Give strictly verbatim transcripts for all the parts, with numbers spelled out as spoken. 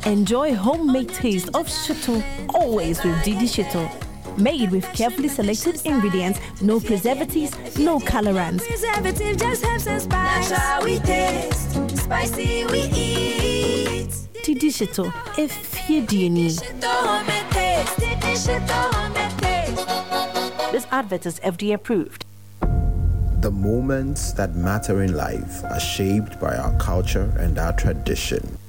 Enjoy homemade taste of shito always with Didi Shito. Made with carefully selected ingredients, no preservatives, no colorants. Preservative just helps us spice. Natural we taste, spicy we eat. Didi Shito, if you do Shito homemade taste. Didi Shito homemade taste. This advert is F D A approved. The moments that matter in life are shaped by our culture and our tradition.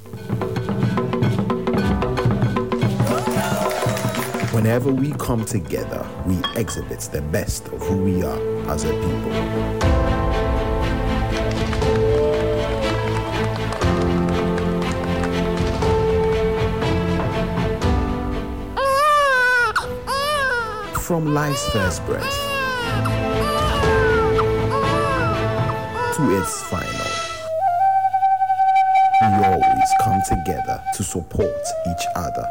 Whenever we come together, we exhibit the best of who we are as a people. From life's first breath to its final, we always come together to support each other.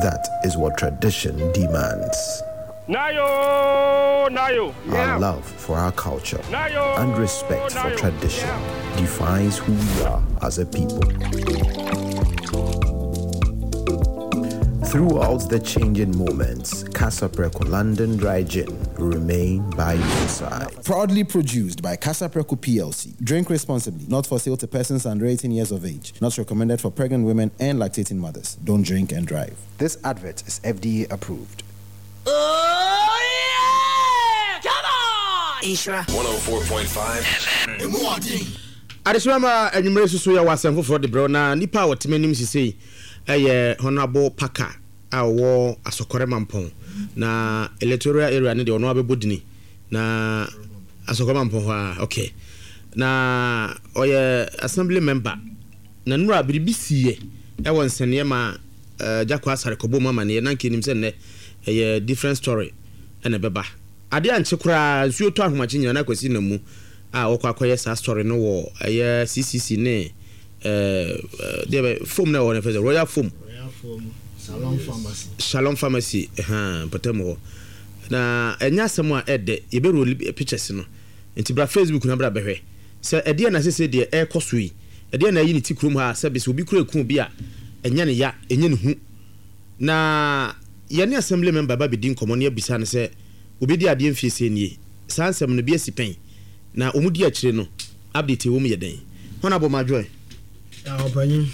That is what tradition demands. Nayo, Nayo. Our love for our culture Nayo, and respect for Nayo. tradition defines who we are as a people. Throughout the changing moments, Kasapreko London Dry Gin will remain by your side. Proudly produced by Kasapreko P L C. Drink responsibly. Not for sale to persons under eighteen years of age. Not recommended for pregnant women and lactating mothers. Don't drink and drive. This advert is F D A approved. Oh, yeah! Come on! Isra. one oh four point five F M. Adesima enyumere susu ya wasem foforo de bro na nipa a wotemenim sisei eye Honorable Parker a wo Asokore Mampong na electoral area ne de ono abebodini na Asokore Mampong ho a okay na oye assembly member na nura biribi siye e won sene ma Jakwa Asare kobo mama ne na nkenim se ne eye different story ene beba ade anche kura nsuo to ahomache nyina na kwasi na mu a wokwa akoye sa story no wo eye C C C ne eh de foam na wo ne fese Royal Foam, Royal Foam, Shalom Pharmacy, Shalom Pharmacy ha potemo na enya asem a ede ye be roll pictures no nti bra Facebook na bra behwe se ede na sese de e koso yi ede na yi ne tikrom ha se be se obi kura eku bi a enya ne ya enya ne hu na ye ne assembly member ba be di nkomo ne abisa ne se obi di ade mfie se nie sansem no bi asipen na omudi akire no update wo mu ye den Honorable Majoy ah opanyin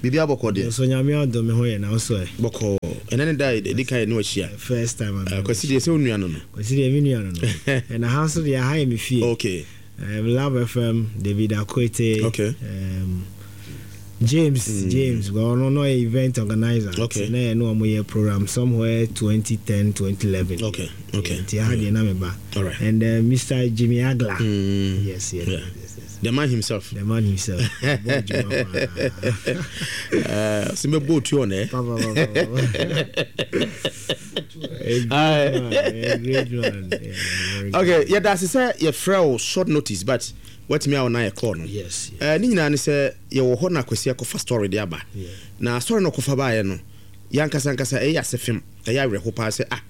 bibi abokɔ de so nyame adom me ho ye na so e bokɔ ene ne dai de kai no ahia first time am kwasi de se onua no no kwasi de me nua no no na ha so de ha ye me fie okay um Love F M David Akwete okay um James mm. James well no no event organizer okay na no mo ye program somewhere twenty ten twenty eleven okay okay ti ha de na me ba all right and uh, Mister Jimmy Agla mm. yes yes, yeah. yes, yes. The man himself. The man himself. Uh, simbe boat you on eh? Great man. Yeah, okay, yeah, that's say your frail short notice, but what me on na call no. Yes. Eh, ni nyina ne say ye wo ho na kwasi akofa story de aba. Na story no kofa ba ye no. Ya nkasa nkasa eh ya sefem, eh ya wereko pa say ah.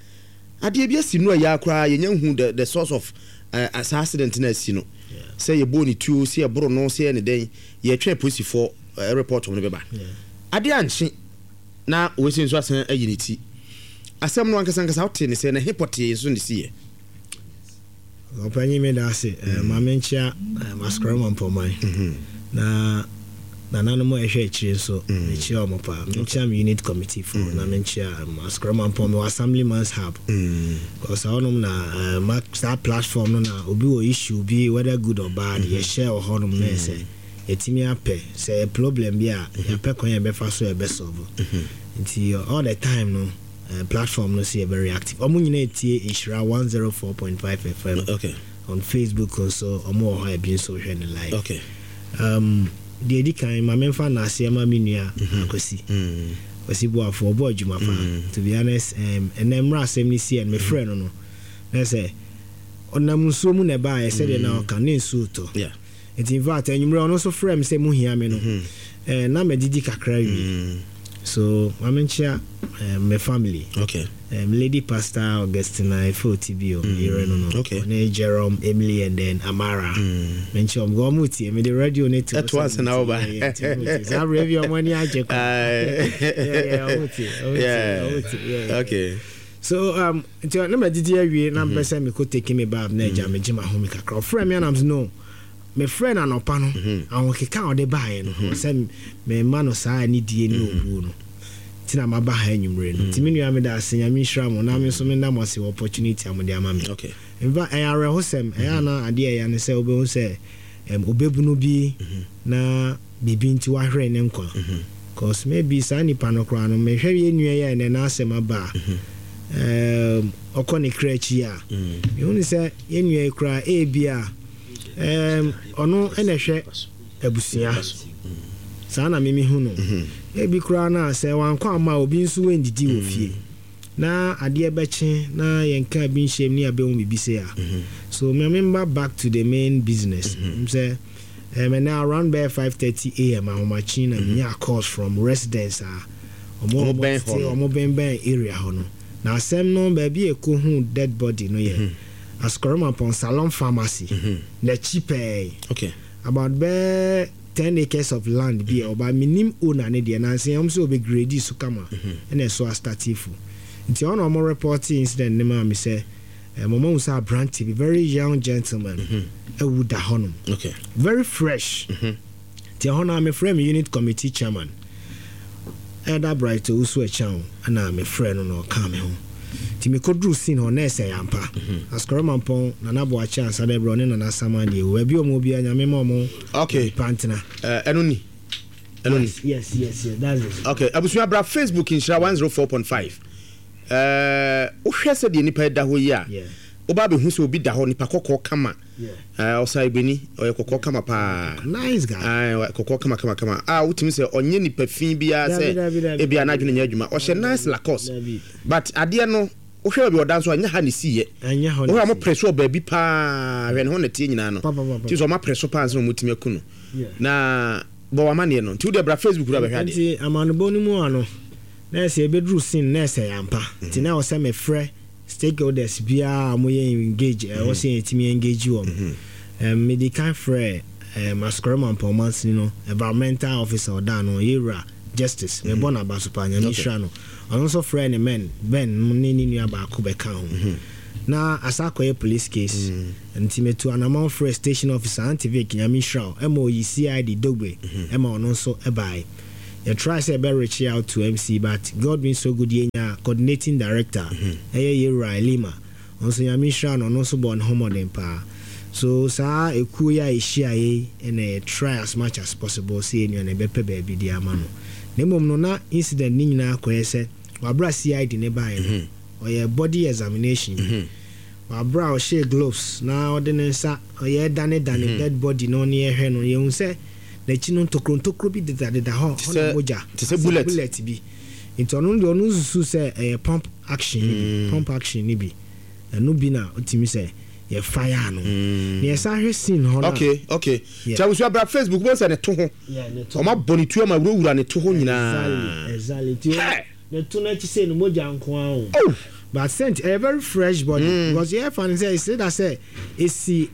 Ade bi asi no ya akra ye nya hu the the source of uh, as accident na asi no. Say ye bo ni tuo say bro no say ne den ye twa police for uh, report on beba. Ade anche na we se nso asan ayi ne ti. Asem no ankasa ankasa wote ne say na hipote nso ne sie. Opanyi me da se ma me nchia Asokore Mampong na na nanu mo ehwe akire nso me chia omo pa me chia me unit committee for na me chia Asokore Mampong assembly man's hub because onom na ma that platform no na obi wo issue bi whether good or bad ye share ohonom na say etimi apɛ say problem bi a ya pɛ kwan ye be fa so e be solve nti all the time no. Uh, platform no see very active. Omo nyina etie Ishra one oh four point five F M. Okay. On Facebook also omo ho e bi so hwe ne live. Okay. Um de edi kan ma memfa na ase ma menua akosi. Mhm. Kwasi Boafo obo adwuma fa. To be honest, um enemra asem ni see and me friend no no. Na say onam nsuo mu na ba e say de na o kan ne nsuo to. Yeah. It in fact enyumre ono so frem say mu hia me no. Eh na medidi kakra wi. So mamenkyia um, my family. Okay. Um, Lady Pastor Augustina Efotibio, mm. no no. Okay. Ne Jerome, Emily, and then Amara. Mm. Menkyia ɔmo ɔmo tie me the radio ne to. Ɛto ase na ɔba. Saa review ɔmo ani agye kɔ. Yeah, yeah, ɔmo tie, ɔmo tie, ɔmo tie. Yeah. Okay. So um, nti na ma didi awie na mpɛ sɛ mekɔ take me bath na agya megye m'ahome kakra. Ɔfrɛ me anam no. Me friend anɔpa no ahokeka a ɔde baeɛ no sɛ memma no saa anidie ne obuo no nti na maba ha anwummere no. Nti me nua meda ase, Nyame nhyira mo na me nso meda mo ase wɔ opportunity a mode ama me. Okay. In fact, ɛyɛ awerɛhosɛm, ɛyɛ ana adeɛ ɛyɛ ne sɛ wobɛhu sɛ obɛbunu bi na biribi nti wahwere ne nkwa. Cause maybe saa nipa no koraa no mehwɛ yɛ nua yɛ ɛnɛ n'asɛm aba a ɔkɔ ne kra akyi a mehu ne sɛ yɛ nua yi koraa ebi a um, ɔno ɛna hwɛ abusua saa na mimi hu no ebi koraa na sɛ wankɔ ama obi nso wendidi wɔ fie na adeɛ bɛkye na yɛnka bi nhyɛm ne abɛhu biribi sɛ a. So me memba back to the main business. Sɛ um, and now around bɛyɛ five thirty a m ahomakye na menya calls from residents a ɔmo ɔmo bɛn area hɔ no. Na asɛm no baabi ɛkɔ hu dead body no yɛ Asukɔrɔmampɔn Salon Pharmacy n'akyi pɛɛ. Okay. About bɛɛ ten acres of land bi a ɔba minim owner ne deɛ nansi ɛm sɛ ɔbɛ grade so kama ɛna ɛso astartifo. Nti ɔna ɔmo report incident ne maa mi sɛ ɛmo mo sɛ aberante bi very young gentleman ɛwu da hɔnom. Okay. Very fresh. Nti ɛhɔ na mi frɛ mi unit committee chairman Elder Bright Owusu Ɛkyɛn ɛna mi frɛ no na ɔka mi ho. Nti mekɔduru scene hɔ na ɛsɛ yampa. Asukɔrɔmampɔn Nana Boakye ansa dɛ brɛ ɔne Nana Sama deɛ ewu baabi ɔmo obiara Nyame ma ɔmo. Okay. Pantena. Ɛno ni. Ɛno ni. Yes, yes, yes, that's it. Okay, abusua bra Facebook Nhyira one oh four point five. Ɛɛ wohwɛ sɛ deɛ nipa da hɔ yi a. Woba bɛhu sɛ obi da hɔ nipa kɔkɔɔ kama. Ɔsa ibeni ɔyɛ kɔkɔɔ kama paa. Nice guy. Ah, kɔkɔɔ kama kama kama. Ah, wotumi sɛ ɔnyɛ nipa fi biara sɛ ebi anadwene nyɛ adwuma. Ɔhyɛ nice Lacoste. But adeɛ no wohwɛ baabi ɔda nso anya ha ne siye. Wohwɛ mo press wɔ baabi paa hwɛ ne ho na tie nyinaa no. Ti sɛ ɔma press paa nso na ɔmutumi aku no. Na bɔ wamane no. Nti wo de bra Facebook ra bɛhwɛ adeɛ. Nti amanobɔ no mu ano na sɛ ebeduru scene na sɛ yampa. Nti na ɔsɛ me frɛ stakeholders bia mo yɛ engage ɛwɔ sɛ yɛtumi engage wɔm. Um, me di kan frɛ um, Asukɔrɔmampɔn mansini no environmental officer ɔda no yɛwura Justice me bɔ n'aba so paa Nyame hyira no. Ɔno nso frɛ ne men Ben ne ne nua baako bɛka ho. Na asa akɔyɛ police case. Nti metu anamɔ frɛ station officer Auntie Vic Nyame hyira wo ɛma oyi C I D Dogbe ɛma ɔno nso ɛbae. You try say be reach out to M C but God being so good yenya coordinating director ɛyɛ yɛwura Elima. Ɔnso Nyame hyira no ɔno nso bɔ ne ho mmɔden paa. So saa ekuo yi a ehyia yi ɛna try as much as possible sɛ enua na ɛbɛpɛ baabi de ama no. Na mmom no na incident ni nyinaa akɔyɛ sɛ wabra C I D ne baeɛ no ɔyɛ body examination. Wabra ɔhyɛ gloves na ɔde ne nsa ɔyɛ dane dane dead body no ne ɛhwɛ no yɛhu sɛ n'akyi no ntokuro ntokuro bi dedadeda hɔ hɔ na mogya te sɛ bullet bullet bi. Nti ɔno deɛ ɔno nsusu sɛ ɛyɛ pump action ni bi pump action ni bi ɛno bi na ɔtumi sɛ yɛ fire no. Na yɛsan hwɛ scene hɔ no. Okay, okay. Ti abusua bra Facebook bo sɛ ne to ho. Ɔma bɔ ne tuo ma wurawura ne to ho nyinaa. Exactly, exactly. Ti ne to na akyi sɛ ne mogya nko ara o. But scent a very fresh body mm. because yɛ fan sɛ ɛsɛ da sɛ esi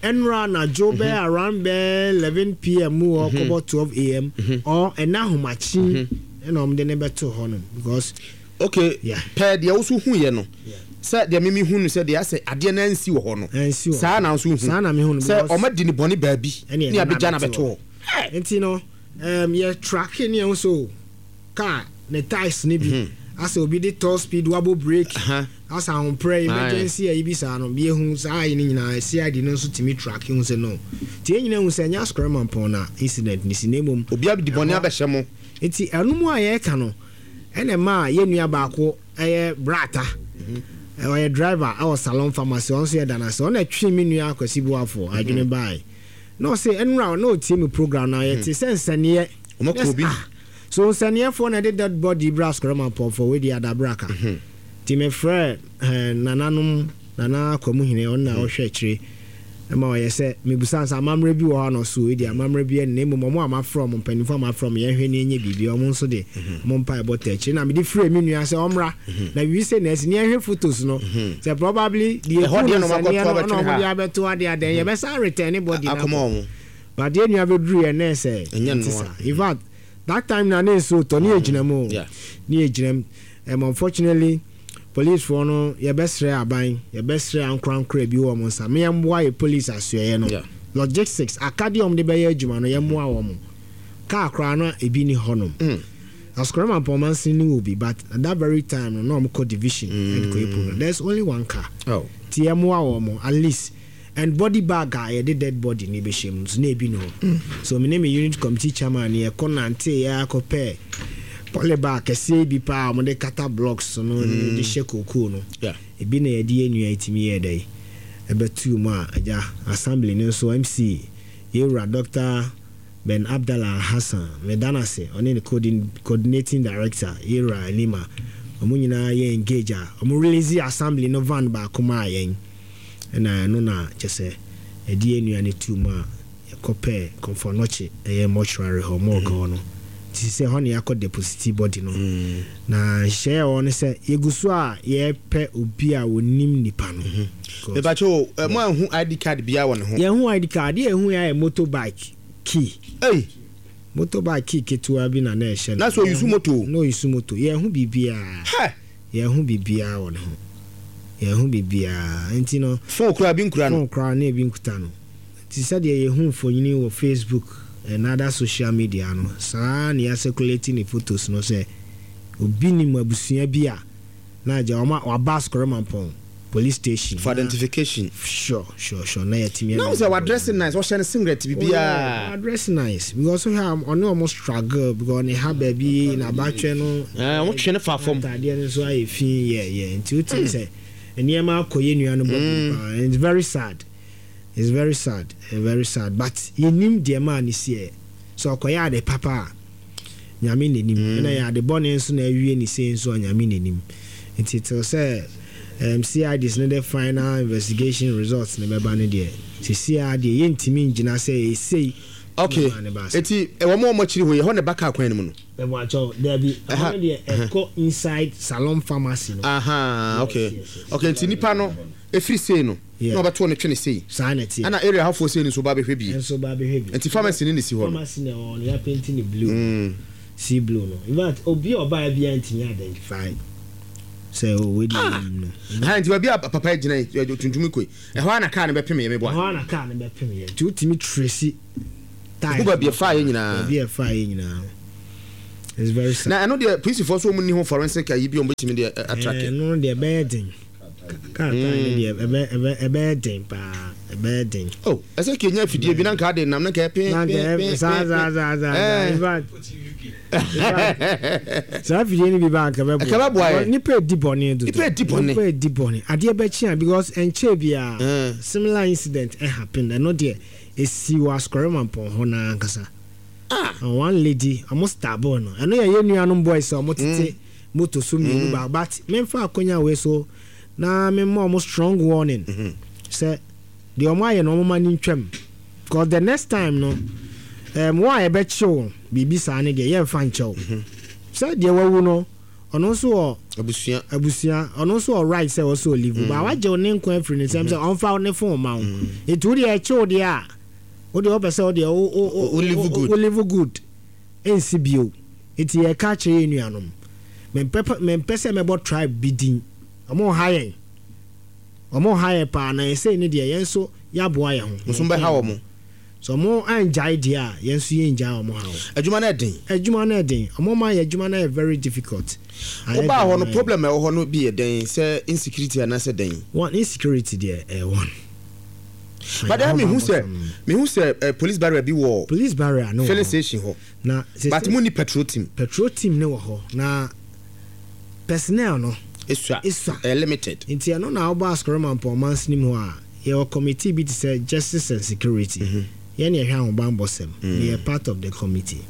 ɛnra na jo bɛ around bɛ eleven p m mu or kɔbɔ twelve a m or ɛna ahomakye ɛna ɔmo de ne bɛto hɔ no because okay yeah pɛ deɛ woso hu yɛ no sɛ deɛ mimi hu no sɛ deɛ asɛ adeɛ na nsi wɔ hɔ no saa na nso hu saa na mi hu no sɛ ɔmo di ne bɔne baabi ne abɛgya na bɛto hɔ. Nti no um, yɛ tracking ne yɛn so car ne ties ne bi asɛ obi de top speed wabɔ brake asɛ ahoprɛ emergency ayi bi saa no bi ehu saa ayi ne nyinaa C I D no nso tumi tracking hu sɛ no nti yɛn nyinaa hu sɛ ɛnyɛ Asukɔrɔmampɔn na incident ne si na emom obi abdi bɔne abɛhyɛ mo. Nti ɛno mu a yɛreka no ɛna mmaa yɛn nua baako ɛyɛ brata ɔyɛ driver ɛwɔ Salon Pharmacy ɔno nso yɛ danase ɔno ɛtwe mi nua Akwasi Boafo adwene baae na ɔsɛ ɛnura na ɔtie mi program na yɛte sɛ nsɛnniɛ ɔmo kɔ obi. So nsɛnniɛfoɔ na ɛde dead body bra Asukɔrɔmampɔn fo wei di adabraka. Nti mefrɛ nananom Nana Akwamuhene ɔno na ɔhwɛ akyire Ɛma ɔyɛ sɛ mebusa sɛ amammerɛ bi wɔ hɔ no so ɛdi amammerɛ bi ɛne mmom ɔmo a mafrɛ ɔmo mpanimfoɔ a mafrɛ ɔmo yɛnhwɛ ne ɛnyɛ biribi ɔmo nso de ɔmo mpa ɛbɔ tɛ akyire na mede frɛ me nua sɛ ɔmmra na biribi sɛ na ɛsi ne yɛnhwɛ photos no sɛ probably deɛ Ɛhɔ ɛku deɛ no na ɔmo sɛ neɛ akɔto no abɛtwene ɔna ɔmo de ha. abɛto adeɛ adɛn yɛbɛsa return ne body no Akɔma akɔ. ɔmo. But deɛ nua bɛduru yɛ nɛ sɛ Ɛnyɛ ɛnte nnoa. saa. In fact, that time na ne nsuo tɔ ne yɛ gyina mu o. Yeah. Ne yɛ gyina mu. um, unfortunately policefoɔ no, yɛbɛsrɛ aban, yɛbɛsrɛ ankorankora bi wɔ ɔmo nsa me yɛmboa yɛ police asoɛyɛ no. Yeah. Logistics akadeɛ ɔmo de bɛyɛ adwuma no, yɛmmoa wɔn. Kaa koraa no ebi ni hɔnom. Mm. Asukɔrɔma mpɔmansin ni wɔ bi, but at that very time no na ɔmo kɔ division ɛde kɔ yɛ program. There is only one car. Oh. Ti yɛmmoa wɔn at least, and body bag a yɛde dead body ne bɛhyɛ mu nso na ebi ni hɔ. So me ne me unit committee chairman ni yɛkɔ nante, yɛ akɔpɛ poly bag kɛseɛ bi paa a wɔde kata blocks no mm. de hyɛ kookoo no. Yeah. Ebi na yɛde yɛ nua etimi yɛ dɛ ɛbɛtu mu a agya assembly no nso M C yɛwura Doctor Ben Abdallah Hassan medanase, ɔne ne coordin- coordinating director yɛwura Elima, ɔmo nyinaa yɛ engage a ɔmo release assembly no van baako maa yɛn, ɛna ɛno na kyɛ sɛ yɛde yɛ nua no tu mu a yɛkɔpɛ Komfo Anokye, ɛyɛ mortuary hɔ, morgue hɔ no, nti sɛ hɔ ne yɛakɔ deposit body no. Na nhyehyɛeɛ a ɛwɔ no sɛ yɛgu so a yɛpɛ obi a wɔnim nipa no. Because Mepakyɛ o, mo anhu I D card biara wɔ ne ho? Yɛhu I D card, adeɛ yɛhu yɛ ayɛ motorbike key. Ei. Motorbike key ketewa bi na na ɛhyɛ no. Na sɛ ɔuse moto? Na ɔuse moto. Yɛhu biribiara. Hɛ. Yɛhu biribiara wɔ ne ho, yɛhu biribiara, nti no phone kura bi nkura no? Phone koraa na ebi nkuta no, nti sɛdeɛ yɛhu mfonyini wɔ Facebook and other social media no, saa na yɛacirculate ne photos no sɛ obi nim abusua bi a na agya ɔma waba Asokore Mampɔn police station for identification. sure sure sure na yɛtumi Na wo sɛ wadress nice, wɔhyɛ no singlet biribiaa. Oh, dress nice because wohwɛ a ɔne ɔmo struggle because ne ha baabi n'abatwɛ no Eh, ɔmo twe ne fa fam. Ataadeɛ no nso ayɛ fi yɛ yɛ nti wotumi sɛ nneɛma akɔ yɛ nua no bɔ paa. It's very sad, it's very sad, eh, very sad, but yɛnim deɛ maa ne siɛ sɛ ɔkɔyɛ ade papa a Nyame n'anim, ɛna yɛ ade bɔne nso na awie ne sei nso a Nyame n'anim. Nti till sɛ um, C I Ds ne de final investigation results ne bɛba no deɛ, sisi a deɛ yɛntumi ngyina sɛ ɛsei. Okay, eti ɛwɔ mo a ɔmo akyiri hɔ yi, ɛhɔ ne ba kaa kwan no mu no? Ɛbɛn dabi, ɛhɔ no deɛ ɛkɔ inside Salon Pharmacy no. Aha, okay. Yes, yes. Okay, nti nipa no efiri sei no Yeah. na ɔbɛto ne twene sei. Saa na ɛteɛ. Ɛna area hɔfoɔ sei no nso ba bɛhwɛ bi. Ɛnso ba bɛhwɛ bi. Nti pharmacy ne ne si hɔ no. Pharmacy na ɛwɔ no, yɛapaint ne blue. Mm. Sea blue no, in fact, obi a ɔbaa bi a ntumi identify sɛ o wei di anim no. Ha nti baabi a papa yi gyina yi, ɛ, tuntum kɔ yi, ɛhɔ a na kaa no bɛpem yɛ meboa? Ɛhɔ a na kaa no bɛpem yɛ, nti wotumi trace tyre. Wo baabi ɛfaa yɛ nyinaa. Baabi a ɛfaa yɛ nyinaa. It's very sad. Na ɛno deɛ, polisifoɔ so wɔn ni ho forensic ayi bi a wɔn bɛtumi de ɛ, atrack? Ɛno deɛ ɛbɛyɛ den, kaa tyre no deɛ ɛbɛ ɛbɛ ɛbɛyɛ den paa, ɛbɛyɛ den. Oh, ɛsɛ kenya afidie bi na nka ade nam na nka ɛpin na pin pin. Saa saa saa saa. Eh. In fact, saa afidie no bi ba nka bɛboa. Ɛka bɛboa yɛ. Nipa edi bɔne dodo. Nipa edi bɔne. Nipa edi bɔne, adeɛ bɛkyi a because nkyɛn biara Eh. similar incident ɛ happen. Ɛno deɛ esi wɔ Asukɔrɔ Mampɔn hɔ naa ankasa. And one lady ɔmo stab no, ɛno yɛ yɛn nuanom boys a ɔmo tete moto so mmienu baako, but memfa akonya wei so na memma ɔmo strong warning sɛ deɛ ɔmo ayɛ no, ɔmo ma ne ntwam, because the next time no, um, wɔn a yɛbɛkyew biribi saa ne deɛ, yɛmfa nkyɛw sɛ deɛ wawu no, ɔno nso wɔ abusua. Abusua, ɔno nso wɔ right sɛ ɔsɛ ɔlive ba wagye wo ne nkwa afiri ne nsɛm sɛ ɔmfa ne phone ma wo. Nti wo deɛ ɛkyew deɛ a wo deɛ wopɛ sɛ wo deɛ wo wo Wo live good. Wo live good ɛnsi bio. Nti yɛka kyerɛ yɛn nuanom, mempɛ mempɛ sɛ mɛbɔ tribe bi din, ɔmo ha yɛn, ɔmo ha yɛn paa, na ɛsɛ ne deɛ yɛn nso yɛaboa yɛn ho. Nso bɛha wɔ mo. So ɔmo angyae deɛ a, yɛn nso yɛngyae ɔmo ha o. Adwuma no ɛden. Adwuma no ɛden, ɔmo ma yɛ adwuma no yɛ very difficult. Ayɛ wobaa hɔ den no ma yɛn. Problem a ɛwɔ hɔ no bi yɛ dɛn? Sɛ insecurity anaasɛ dɛn? One, insecurity deɛ ɛyɛ one. But then mehu sɛ mehu sɛ eh, police barrier bi wɔ police barrier no wɔ filling hɔ. station hɔ. Na but mo ni patrol team? Patrol team ne wɔ hɔ na personnel no esua. Esua. Ɛyɛ limited. Nti ɛno na wobɔ Asokore Mampɔn mansini mu hɔ a, yɛwɔ committee bi te sɛ justice and security. Yɛne yɛhwɛ ahobanbɔ sɛm. Meyɛ part of the committee,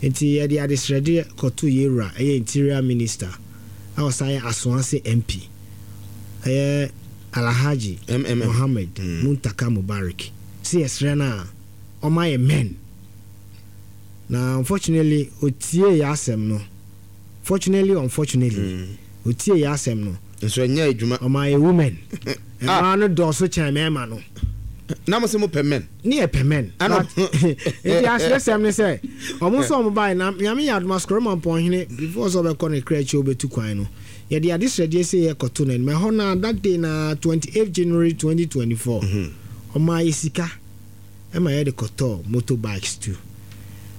nti yɛde adesrɛde kɔto yɛwura ɛyɛ Interior Minister a ɔsan yɛ Asoase M P, ɛyɛ Alhaji M M M. Mohammed Mm. Muntaka Mubarak sɛ yɛsrɛ no a ɔma yɛ men. Na unfortunately otie yɛ asɛm no, fortunately, unfortunately, Mm. otie yɛ asɛm no. Nso ɛnyɛ adwuma. Ɔma yɛ women. Mmaa no dɔɔso kyɛn mmarima no. Na mo sɛ mo pɛ men. Ne yɛ pɛ men. Ano. But nti ahyerɛsɛm ne sɛ ɔmo nso ɔmo baeɛ na Nyame yɛ adom Asukɔre Mampɔnhene before sɛ ɔbɛkɔ ne kra akyi ɔbɛtu kwan no, yɛde adesrɛdeɛ sɛ yɛkɔto n'anim. Ɛhɔ na that day na twenty-eighth January twenty twenty-four, ɔmaa yɛ sika ɛma yɛde kɔtɔɔ motorbikes too.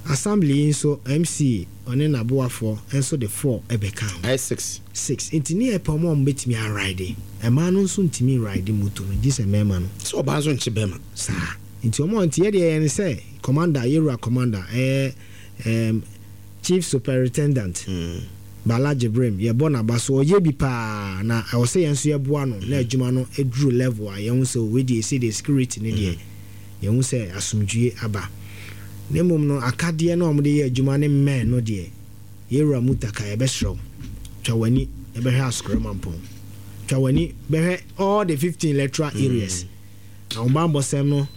Assembly yi nso M C ɔne n'aboafoɔ nso de four ɛbɛka ho. Ayɛ six. Six. Nti ne yɛ pɛ ɔmo a ɔmo bɛtumi aride. Mmaa no nso ntumi ride moto no gye sɛ mmarima no. Sɛ ɔbaa nso nkye bɛrima. Saa nti ɔmo nti yɛdeɛ yɛn sɛ commander, yɛwura commander, ɛyɛ ɛɛm chief superintendent Mm. Bala Jibrim, yɛbɔ n'aba so, ɔyɛ bi paa na ɛwɔ sɛ yɛn nso yɛboa no na adwuma no eduru level a yɛn ho sɛ wei deɛ esi deɛ security ne deɛ yɛn ho sɛ asomdwie aba. Na mmom no akadeɛ no a wɔde yɛ adwuma ne mmɛn no deɛ, yɛwura Mutaka, yɛbɛsrɛ wo, twa w'ani yɛbɛhwɛ Asokore Mampɔn, twa w'ani bɛhwɛ all the fifteen electoral areas na wɔn bammɔsɛm no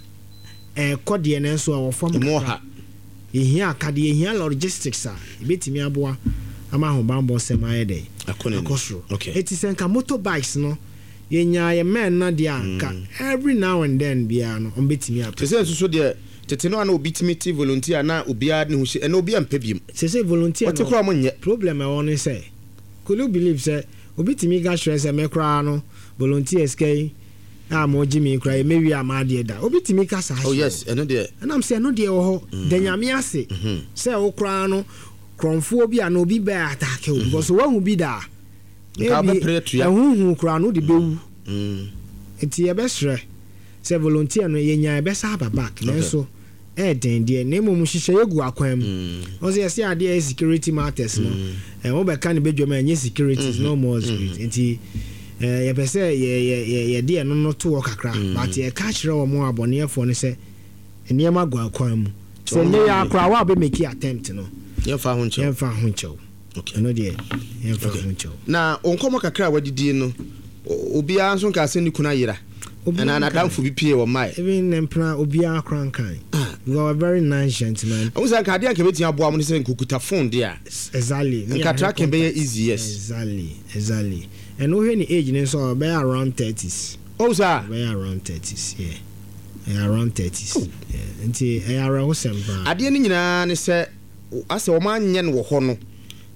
ɛɛkɔ deɛ no nso a wɔ fam Emu kakra. ɔha. Yɛhia akadeɛ, yɛhia logistics a yɛbɛtumi aboa ama ahobammɔsɛm ayɛ dɛ Akɔ n'anim. akɔ soro. Okay. Eti sɛ nka motorbikes no yɛnya yɛ men no deɛ a, nka every now and then biara no ɔmbɛtumi apɛ. Te sɛ nso so deɛ tete no a na obi tumi te volunteer na obiara ne ho hyɛ, ɛna obiara mpɛ biem. Sɛ sɛ volunteer Wɔte koraa mo nyɛ. Problem ɛwɔ ne sɛ, could you believe sɛ obi tumi ka kyerɛ sɛ me koraa no volunteers ka yi a mo gye mi koraa yɛ mɛwie a maadeɛ da, obi tumi ka saa Oh kyerɛ yes, ɛno deɛ. ɛnam sɛ ɛno deɛ wɔ hɔ da. Nyame ase sɛ wo koraa no korɔmfoɔ bi a na obi bɛɛ attack wo because woahu bi da a Nka maybe wobɛpere atua. ɛhuhu koraa no wode bɛwu. Mm. Nti yɛbɛsrɛ sɛ volunteer no yɛnya yɛbɛsa aba back, nanso ɛɛden deɛ, na mmom nhyehyɛeɛ gu akwan mu. Wɔn sɛ yɛsɛ adeɛ yɛ security matters no ɛ wɔbɛka ne bɛdwam a ɛnyɛ security, it's no more security. Nti ɛɛ yɛpɛ sɛ yɛ yɛ yɛ yɛde ɛno no to hɔ kakra, but yɛka kyerɛ wɔn abɔneɛfoɔ no sɛ nneɛma gu akwan mu sɛ nyɛ yɛ akora wa bɛ make attempt no, Yɛmfa ho nkyɛw. Yɛmfa ho nkyɛw. Okay. Ɛno deɛ yɛmfa ho nkyɛw. Na nkɔmmɔ kakra a wadidie no, o- obiara nso nka sɛ ne kunu ayera Obiara ɛna nka. n'adamfo bi pie wɔ mmae. Even ne mpena obiara kora nkan because we very nice gentleman. Ɛwo sɛ nka adeɛ a nka bɛtumi aboa mo ne sɛ nkukuta phone deɛ a Exactly. Me nka ahwɛ tracking bɛyɛ contact. easy, yes. Exactly, exactly. And wohwɛ ne age ne nso a, ɔbɛyɛ around thirties. Ɔwo saa. Ɔbɛyɛ around thirties, yeah, ɛyɛ around thirties, yeah. Nti ɛyɛ awerɛhosɛm paa. Adeɛ no nyinaa ne sɛ asɛ wɔn anyɛ no wɔ hɔ no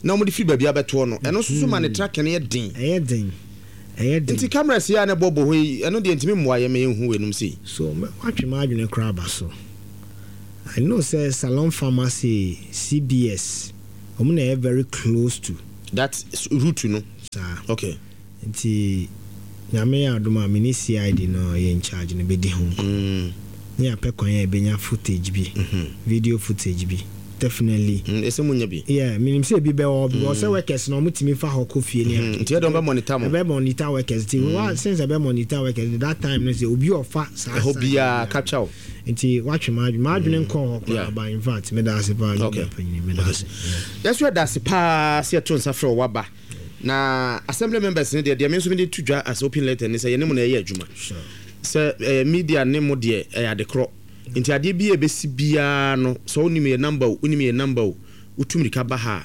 na wɔde firi baabi abɛtoɔ no, ɛno nso so ma ne tracking no yɛ den. Ɛyɛ den, ɛyɛ den. Nti cameras yi a ne bɔbɔ hɔ yi, ɛno deɛ ntumi mmoa yɛ ma yɛnhu wɔ sei. So mɛ- watwe m'adwene koraa aba so. I know sɛ Salon Pharmacy, C B S, ɔmo na ɛyɛ very close to that route no. Saa. Okay. Nti Nyame yɛ adom a, mene C I D no ɔyɛ in charge no bɛdi ho nkɔmmɔ mm. ne yɛapɛ kwan a yɛbɛnya footage bi, video footage bi, definitely. Mm, ɛsɛ mu nya bi. Yeah, menim sɛ ebi bɛwɔ hɔ because sɛ workers no ɔmo fa hɔ kɔ fie ne Mm, nti yɛde ɔmo bɛ monitor mo. Ɛbɛ monitor workers. Nti wa since ɛbɛ monitor workers that time no sɛ obi ɔfa saa ɛhɔ side biara biara. capture wo. Nti watwe m'adwene m'adwene nkɔ hɔ Yeah. koraa, but in fact meda ase paa. Okay. Nyame meda ase. Yɛso yɛda ase paa sɛ yɛto nsa frɛ wo waba. Na assembly members no deɛ deɛ me nso mede to dwa as open letter ne sɛ yɛne mu na ɛyɛ adwuma. Sure. Sɛ ɛyɛ media ne mo deɛ, ɛyɛ ade korɔ, nti adeɛ bi a ɛbɛsi biara no, sɛ wonim yɛ number o, wonim yɛ number o, wotu mmirika ba ha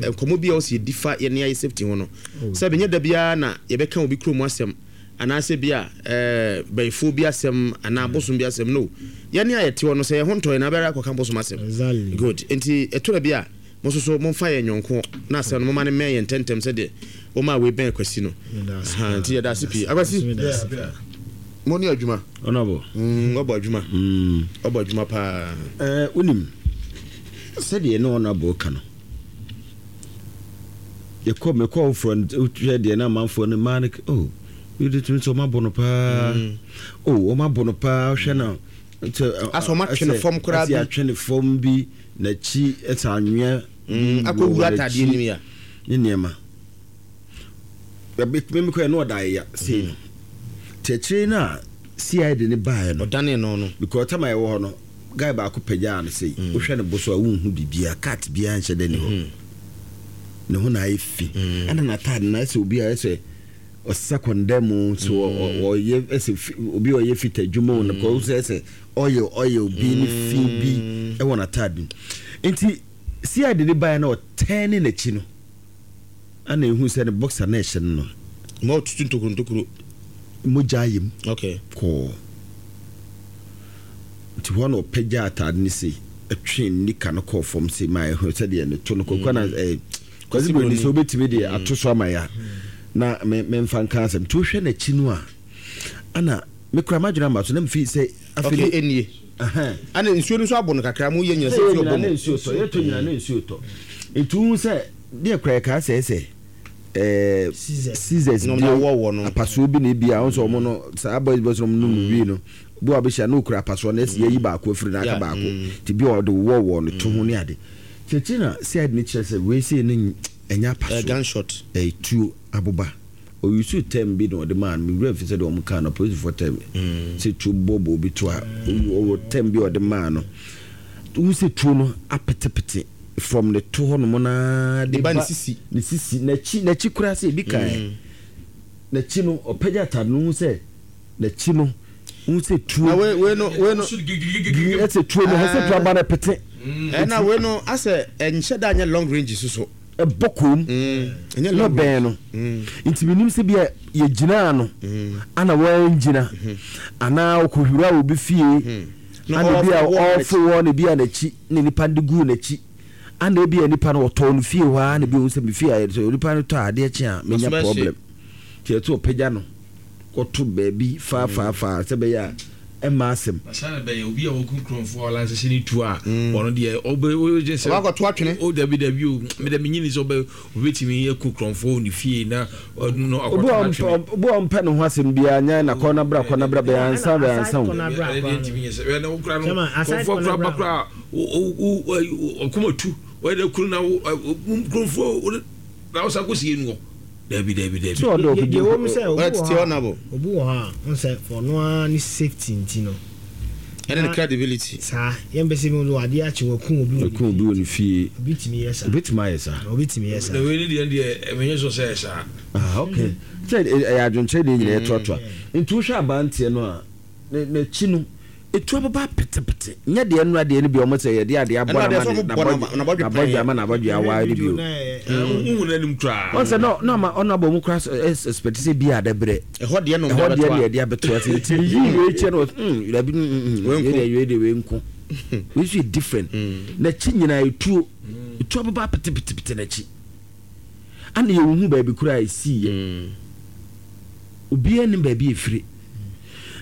a, nkɔmmɔ bi a wo sɛ yɛdi fa yɛne ayɛ safety ho no, sɛ bɛnyɛ da biara na yɛbɛka obi kurom asɛm anaasɛ bi a ɛɛ bɛyifoɔ bi asɛm anaa bosom bi asɛm no, yɛne a yɛte hɔ no, sɛ yɛho ntɔ yɛn na bɛrɛ akɔka bosom asɛm. Exactly. Good. Nti ɛto da bi a mo nso so momfa yɛn nyɔnko na asɛm no moma no mmɛn yɛn ntɛntɛm sɛdeɛ wɔma a wei bɛn Akwasi no. Meda ase Aha, paa. nti yɛda ase pii, Akwasi. Meda ase. Mo ne adwuma. Honorable. Mm, ɔbɔ adwuma. Mm. Ɔbɔ adwuma paa. Eh, wonim sɛdeɛ ne honorable ka no, yɛkɔ mekɔ foforɔ no, wohwɛ deɛ na amanfoɔ no mmaa no, oh, wode tumi sɛ ɔmabɔ no paa. Oh, ɔmabɔ no paa, wohwɛ no sɛ- Asɛ ɔmatwe ne asɛ- fam koraa asɛ bi. atwe ne fam bi n'akyi, ɛsɛ anwea Mm, bi akɔwura wɔ atadeɛ n'akyi no mu ya. Ne nneɛma memekɔɛ na ɔda ayɛ sei no, nti akyire no a C I D ne baeɛ no, ɔdane no no because time a yɛwɔ hɔ no, guy baako pagyaa no sei, wohwɛ ne bo so a wonhu biribia, cat biara nhyɛ dɛ ne hɔ, ne ho na ayɛ fi, ɛna n'ataade na ayɛ sɛ obi a ayɛ sɛ Ɔsesa kɔndɛm so ɔyɛ ɛsɛ obi ɔyɛ fita adwuma no kɔ sɛ ɛsɛ ɔyɛ ɔyɛ obi ne fi bi ɛwɔ n'ataade nti C I D ne baeɛ na ɔtɛn ne n'akyi no ana ehu sɛ ne boxer na ɛhyɛ no no ma ɔtutu ntokuro ntokuro mogya ayɛ mu okay kɔɔ nti hɔ na ɔpɛgya ataade ne sei ɛtwe nika no kɔɔ fam sei ma ɛho sɛdeɛ ne to no kɔkɔ na ɛɛ Kwasi Broni sɛ wobɛtumi deɛ ato so ama ya na me memfa nka asɛm nti wohwɛ n'akyi no a ana mekura m'adwene ama so na mfi sɛ afei okay enie ana nsuo no nso abɔ no kakra mu yɛ nyina sɛ nsuo bɔ mu nsuo tɔ yɛtɔ nyina na nsuo tɔ nti wohu sɛ deɛ kura yɛkaa sɛ sɛ ɛɛ scissors bi apasoɔ bi na ebi a wɔn sɛ wɔn no saa boys boys no nom wie no bi a bɛhyia na okura apasoɔ na esi yɛyi baako afiri na aka baako nti bi a ɔde wɔwɔ no to ho ne ade kyerɛkyerɛ na C I D ne kyerɛ sɛ wei sei ne ɛnyɛ apasoɔ gunshot ɛyɛ tuo aboba oyusu term bi na ɔde maa no mewura fi sɛ deɛ ɔmo kaa no polisifoɔ term sɛ tuo bɔbɔ obi to a ɔwɔ term bi ɔde maa no wohu sɛ tuo no apetepete from ne to hɔ nom naa de ba ne sisi ne sisi n'akyi n'akyi koraa sɛ ebi kan n'akyi no ɔpɛgya atade no hu sɛ n'akyi no hu sɛ tuo na wei wei no wei no ɛsɛ tuo no ɛsɛ tuo aba no pete ɛna wei no asɛ ɛnhyɛ da nyɛ long range soso ɛbɔ kom na bɛn no nti menim sɛ bia yɛgyinaa no ana wɔangyina anaa ɔkɔhwira obi fie ana bi a ɔfo wɔ ne bi a n'akyi ne nipa de guu n'akyi ana bi a nipa no ɔtɔɔ no fie hɔ a na bi ɔhu sɛ me fie a sɛ nipa no tɔ adeɛ kye a menya problem nti ɛto ɔpɛgya no kɔto baabi faafaafaa sɛ bɛyɛ a ɛma asɛm asana bɛyɛ obi a wɔku nkurɔfoɔ a ɔlansɛhyɛ ne tu a ɔno deɛ ɔbɛ sɛ ɔbɛkɔto atwene o dabi dabi o meda menyini sɛ ɔbɛ obɛtumi aku nkurɔfoɔ ne fie na ɔno akɔto atwene obi a ɔmpɛ ne ho asɛm biara nyɛ na kɔ na bra kɔ na bra bɛyɛ ansa bɛyɛ ansa o nkurɔfoɔ kora ba kora ɔkoma tu ɔyɛ kuru na nkurɔfoɔ na ɔsa kɔsie no dabi dabi dabi. Deɛ wɔm sɛ obi wɔ hɔ a n sɛ ɔno ara ne safety nti no ɛne ne credibility saa yɛn bɛ sɛ mi wɔ adeɛ akyi wɔku obi wɔku obi wɔ ne fie obi tumi yɛ saa obi tumi ayɛ saa obi tumi yɛ saa na wei ne deɛ deɛ ɛmɛnyɛ sɔ sɛ saa. Ah okay sɛ ɛyɛ adwenkyerɛ deɛ nyinaa ɛtoatoa nti wohwɛ abanteɛ no a n'akyi no etu ababa petepete nyɛ deɛ nnura deɛ no bi ɔmo sɛ yɛde adeɛ abɔ n'abɔdwe ama n'abɔdwe awa ne bi o. Nhu n'anim koraa. Ɔn sɛ na na ama ɔno abɔ mu koraa ɛspɛti sɛ bi a dɛbrɛ. Ɛhɔ deɛ no ɛhɔ deɛ no yɛde abɛto ase nti yi wei kyɛ no mm dabi mm wei deɛ wei deɛ wei nko wei nso yɛ different n'akyi nyinaa etuo etu ababa petepete n'akyi ana yɛ nhu baabi koraa esi yɛ obiara nim baabi efiri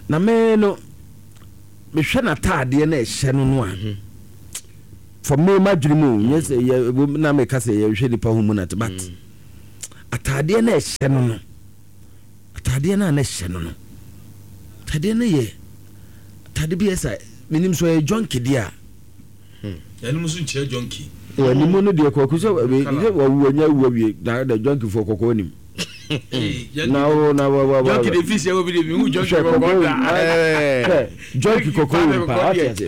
na mɛɛ no. Mehwɛ n'ataadeɛ na ɛhyɛ no no a for me madwene mu nyɛ sɛ yɛ na meka sɛ yɛhwɛ nipa ho mu nate but ataadeɛ na ɛhyɛ no no ataadeɛ na na ɛhyɛ no no ataadeɛ no yɛ ataade bi yɛ sɛ menim so ɛyɛ junkie deɛ a ɛnum nso nkyerɛ junkie wɔ anim no deɛ kɔkɔ sɛ wɔwu anya wu awie na da junkie foɔ kɔkɔɔ nim na wo na wa wa wa junkie de fi sɛ obi de mi hu junkie kɔkɔɔ da junkie kɔkɔɔ wɔ mpa ate ase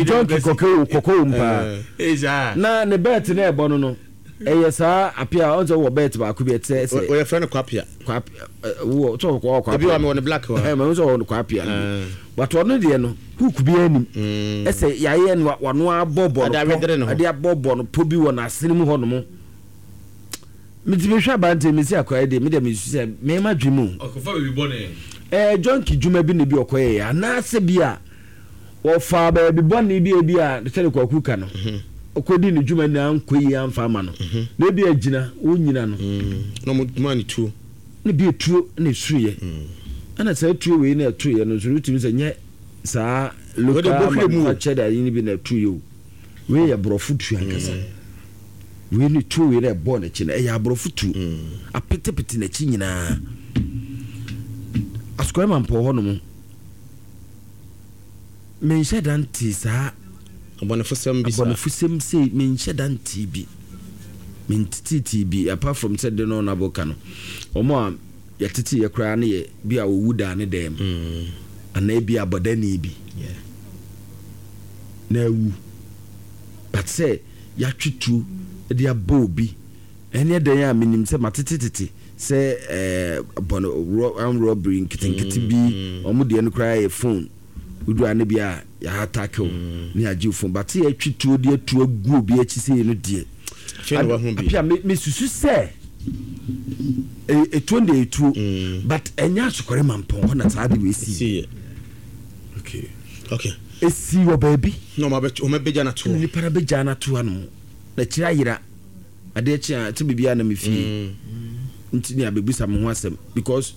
junkie kɔkɔɔ kɔkɔɔ wɔ mpa na ne bɛɛt na ɛbɔ no no ɛyɛ saa apia ɔn sɛ wɔ bɛɛt baako bi ɛtɛ sɛ ɔyɛ fɛn no kwapia kwapia wɔ sɛ ɔkɔ kwapia ebi wɔ mi wɔ ne black wɔ ɛ mɛ sɛ ɔwɔ kwapia but ɔno deɛ no hook bi anim ɛsɛ yɛayɛ no wano abɔ bɔ no pɔ ɛde abɔ bɔ no pɔ bi wɔ n'asene mu hɔ nom meti mehwɛ abante mesi akɔyɛ deɛ mede mesu sɛ mema dwe mu ɔkɔfa baabi bɔne ɛɛ junkie dwuma bi na bi ɔkɔyɛ yɛ anaasɛ bi a wɔfa baabi bɔne bi ebi a sɛde kwaku ka no ɔkɔdi ne dwuma nyinaa nkɔ yi amfa ama no na ebi agyina wɔnyina no na ɔmo ma ne tuo ne bi etuo na esuyɛ ɛna saa tuo wei na ɛtoyɛ no nso wotumi sɛ nyɛ saa local manufactured ayi no bi na ɛtoyɛ o wei yɛ borɔfo tuo ankasa wei ne tuo wei na ɛbɔ n'akyi no ɛyɛ aborɔfo tuo apetepete n'akyi nyinaa asukɔrɔ ma mpɔ hɔ nom menhyɛ da nte saa abɔnefosɛm bi saa abɔnefosɛm sei menhyɛ da nte bi mentetete bi apart from sɛ de no ɔnabɔ ka no ɔmo a yɛtete yɛ koraa ne yɛ bi a owu daa ne dɛm anaa bi abɔdani bi na awu but sɛ yɛatwe tuo de abɔ obi ɛne ɛdɛn a menim sɛ matetetete Sɛ ɛɛ bɔn armed robbery nketenkete bi ɔmo deɛ no koraa yɛ phone wodu ane bi a yɛha attack wo ne agye wo phone, but yɛtwi tuo de atu agu obi akyi sɛ no deɛ apia me me susu sɛ etuo de etuo, but ɛnyɛ Asokore Mampɔn hɔ na saa de wɔ esi. Okay okay esi wɔ baabi na ɔmo abɛ ɔmo abɛgya n'ato hɔ, nipa na bɛgya n'ato hɔ nom na kyerɛ ayera adeɛ kye a te biribi a na me fie nti ne abɛbusa me ho asɛm because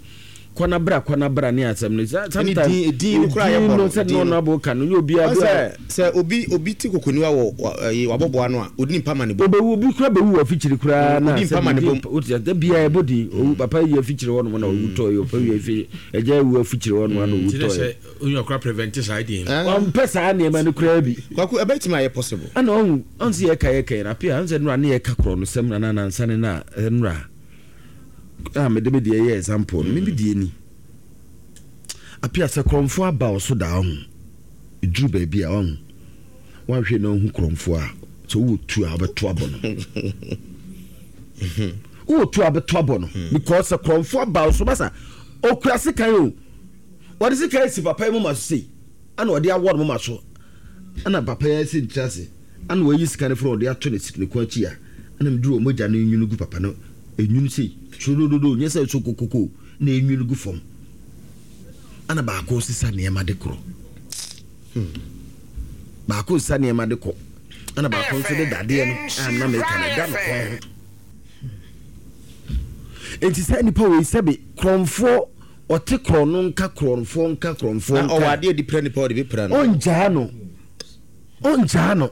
kɔna bra kɔna bra ne asɛm no sometimes edin no koraa yɛ bɔ no sɛ no no abo ka no nyɛ obi a sɛ sɛ obi obi ti kokoniwa wɔ ɛyi wabɔboa no a odi nipa ma ne bom obewu obi kura bewu wɔ afikyiri koraa na odi nipa ma ne bom o ti sɛ bia ɛbɔ din owu papa yi afikyiri hɔ nom na owu tɔ yi papa yi afi ɛgya ewu afikyiri hɔ nom na owu tɔ yi onye ɔkora prevent saa din no ɔmpɛ saa nneɛma no koraa bi. Kwaku ɛbɛtumi ayɛ possible. Ɛna ɔhu ɔn sɛ yɛka yɛka yɛn apia ɔn sɛ nura ne yɛka korɔ no sɛm na nansa ne na nura a mede me deɛ yɛ example no me me deɛ ni apia sɛ korɔmfoɔ aba ɔso daa ɔho ɛduru baabi a ɔho wanhwɛ na ɔhu korɔmfoɔ a sɛ wowɔ tu a wobɛto abɔ no wowɔ tu a wobɛto abɔ no because sɛ korɔmfoɔ aba ɔso basa ɔkura sekan o wɔde sekan asi papa yi moma so sei ana ɔde awɔ no moma so ana papa yi asi ntira ase ana wayi sika no firi ɔde ato ne ne kɔn akyi a ana meduru ɔmogya no nwunu gu papa no enwunu sei turodododo nyɛ sɛ so kokoko na enwunu gu fam ana baako sisa nneɛma de korɔ hmm. Baako sisa nneɛma de kɔ ana baako nso de dadeɛ no a na meka no da no kɔn ho enti sɛ nipa wei sɛbe korɔmfoɔ ɔte korɔ no nka korɔmfoɔ nka korɔmfoɔ nka ɔwɔ adeɛ di pira nipa ɔde bi pira no ɔngyaa no ɔngyaa no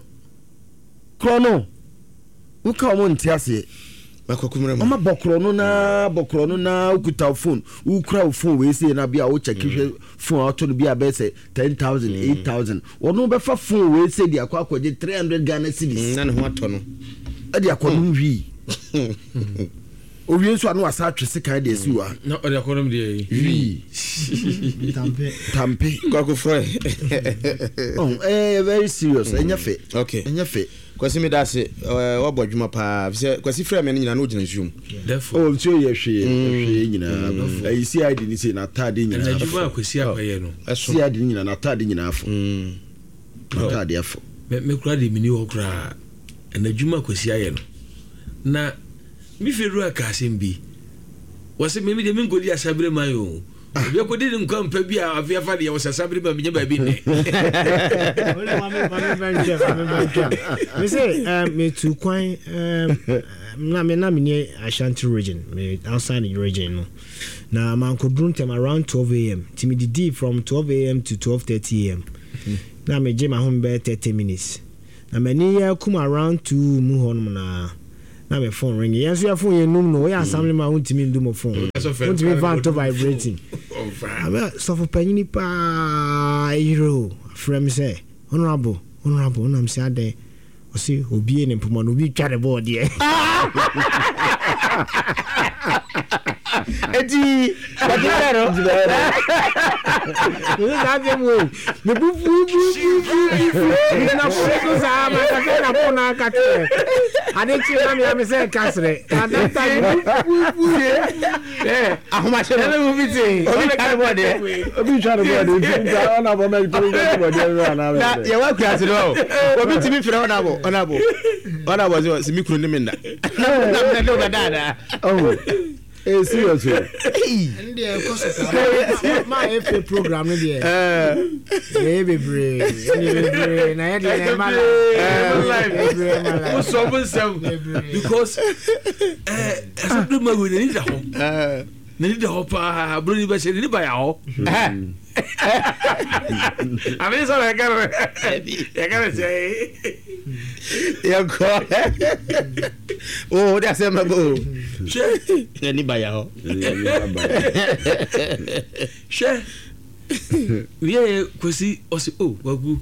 korɔ no woka ɔmo nte aseɛ ɔma bɔ korɔ no naa bɔ korɔ no naa wokuta wo phone wokura wo phone wei sei na bi a wokyɛke hwɛ phone a wɔtɔ no bi a bɛyɛ sɛ ten thousand eight thousand wɔno bɛfa phone wei sei de akɔ akɔgye three hundred Ghana cedis na ne ho atɔ no ɛde akɔ nom hwii owie nso a na wasa atwe sekan de asi wa na ɔde akɔ nom deɛ yi hwii tampe Kwaku frɛ oh eh very serious ɛnyɛ fɛ okay ɛnyɛ fɛ Kwasi mi da ase wabɔ adwuma paa fisɛ Kwasi frɛ mi no nyinaa na ogyina nsuo mu. Oh nsuo yɛ hwee hwee nyinaa ɛyi C I D ni sei n'ataade nyinaa fo. Adwuma a Kwasi akɔyɛ no. C I D ni nyinaa n'ataade nyinaa fo. N'ataade afo. Me me kura de mi ni hɔ koraa ɛna adwuma a Kwasi ayɛ no na me fie wura ka asɛm bi wɔsɛ me me deɛ me nkɔdi asabere man o. Obi akɔdi ne nkwa mpa bi a afei afa deɛ wɔsɛ asabere ma menya baabi nnɛ. Me sɛ metu kwan na me na menni Ashanti Region, me outside the region no, na mankɔduru ntɛm around twelve a m nti medidii from twelve a m to twelve thirty a m na megye m'ahome bɛyɛ thirty minutes na m'ani yɛ kum around two mu hɔnom na na me phone ring. Yɛn nso yɛ phone yɛ num no woyɛ assembly man, wontumi ndu mo phone, wontumi fa nto vibrating. Sɔfo panyini paa eyere o afrɛ me sɛ honorable, honorable, wonam sɛ adɛn? Ɔse obie ne mpoma no obi twa ne bɔɔdeɛ. Eti bàtí bẹ́ẹ̀ no. Mese saa asɛm wei mebu fufufufufu megyina fo so saa makasɛ na fo no aka kyerɛ ade kye na mea me sɛ ɛka serɛ at that time mebu fufufu. Ahomahyɛ no obi twa ne bɔɔdeɛ. Obi twa ne bɔɔdeɛ nti nti ɔna bɔ mɛ tumi twa ne bɔɔdeɛ no ana. Na yɛwɔ akura no obi tumi frɛ ɔnabɔ ɔnabɔ ɔnabɔ sɛ sɛ mi kunu ne mi nna na na ne ɔbɛ daadaa. Oh, eh, serious o. Ɛno deɛ ɛkɔ so paa ma ɛfɛ program no deɛ ɛyɛ bebree ɛyɛ bebree na yɛ deɛ na ɛma life bebree ɛma life. Wosɔ mo nsɛm because ɛsɛ ma wei n'ani da hɔ n'ani da hɔ paa buroni bɛ hyɛ n'ani ba ya hɔ àmì sọ̀rọ̀ yɛ kɛrɛ yɛ kɛrɛ sɛ. Yɛnkɔ o de asɛm bɛ bɔ o. Hwɛ. N'ani ba ya hɔ. Hwɛ wiye yɛ Kwasi ɔsi o Kwaku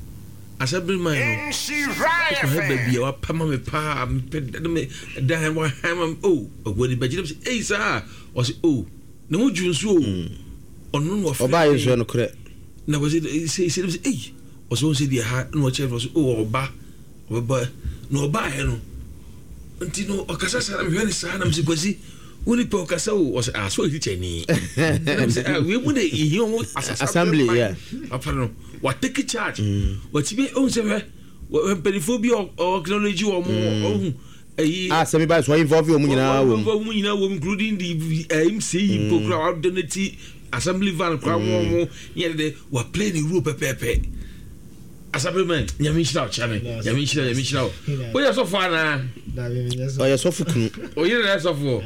asɛbiri man no ɔkɔ hɛ baabi a wapɛ ma me paa mepɛ me dan wahan ma me o Kwaku ani bɛgye dɛm sɛ eyi saa ɔsi o ne ho dwu nso o ɔno na ɔfrɛ. Ɔbaa yɛ nsuo no korɛ. Na Kwasi sɛ sɛ sɛ eyi ɔsɛ wɔn sɛ deɛ ha na ɔkyerɛ no ɔsɛ o ɔba ɔbɛba na ɔbaa yɛ no nti no ɔkasa saa na mehwɛ ne saa na mesɛ Kwasi Woni pe okasa o o ah so teacher ni. Ah we mu de ihio assembly yeah. Papa no wa take charge. Wa ti be on se hwe mpanifo bi o acknowledge o mo o eh ah semi ba so involve o mu nyina wo. Involve mu nyina wo including the M C program wa donate assembly van kwa wo mo ye de wa play the role pepepe. Assembly man nyame nhyira wo chame nyame nhyira nyame nhyira wo wo yɛ sɔfo ana o yɛ sɔfo kunu o yɛ na sɔfo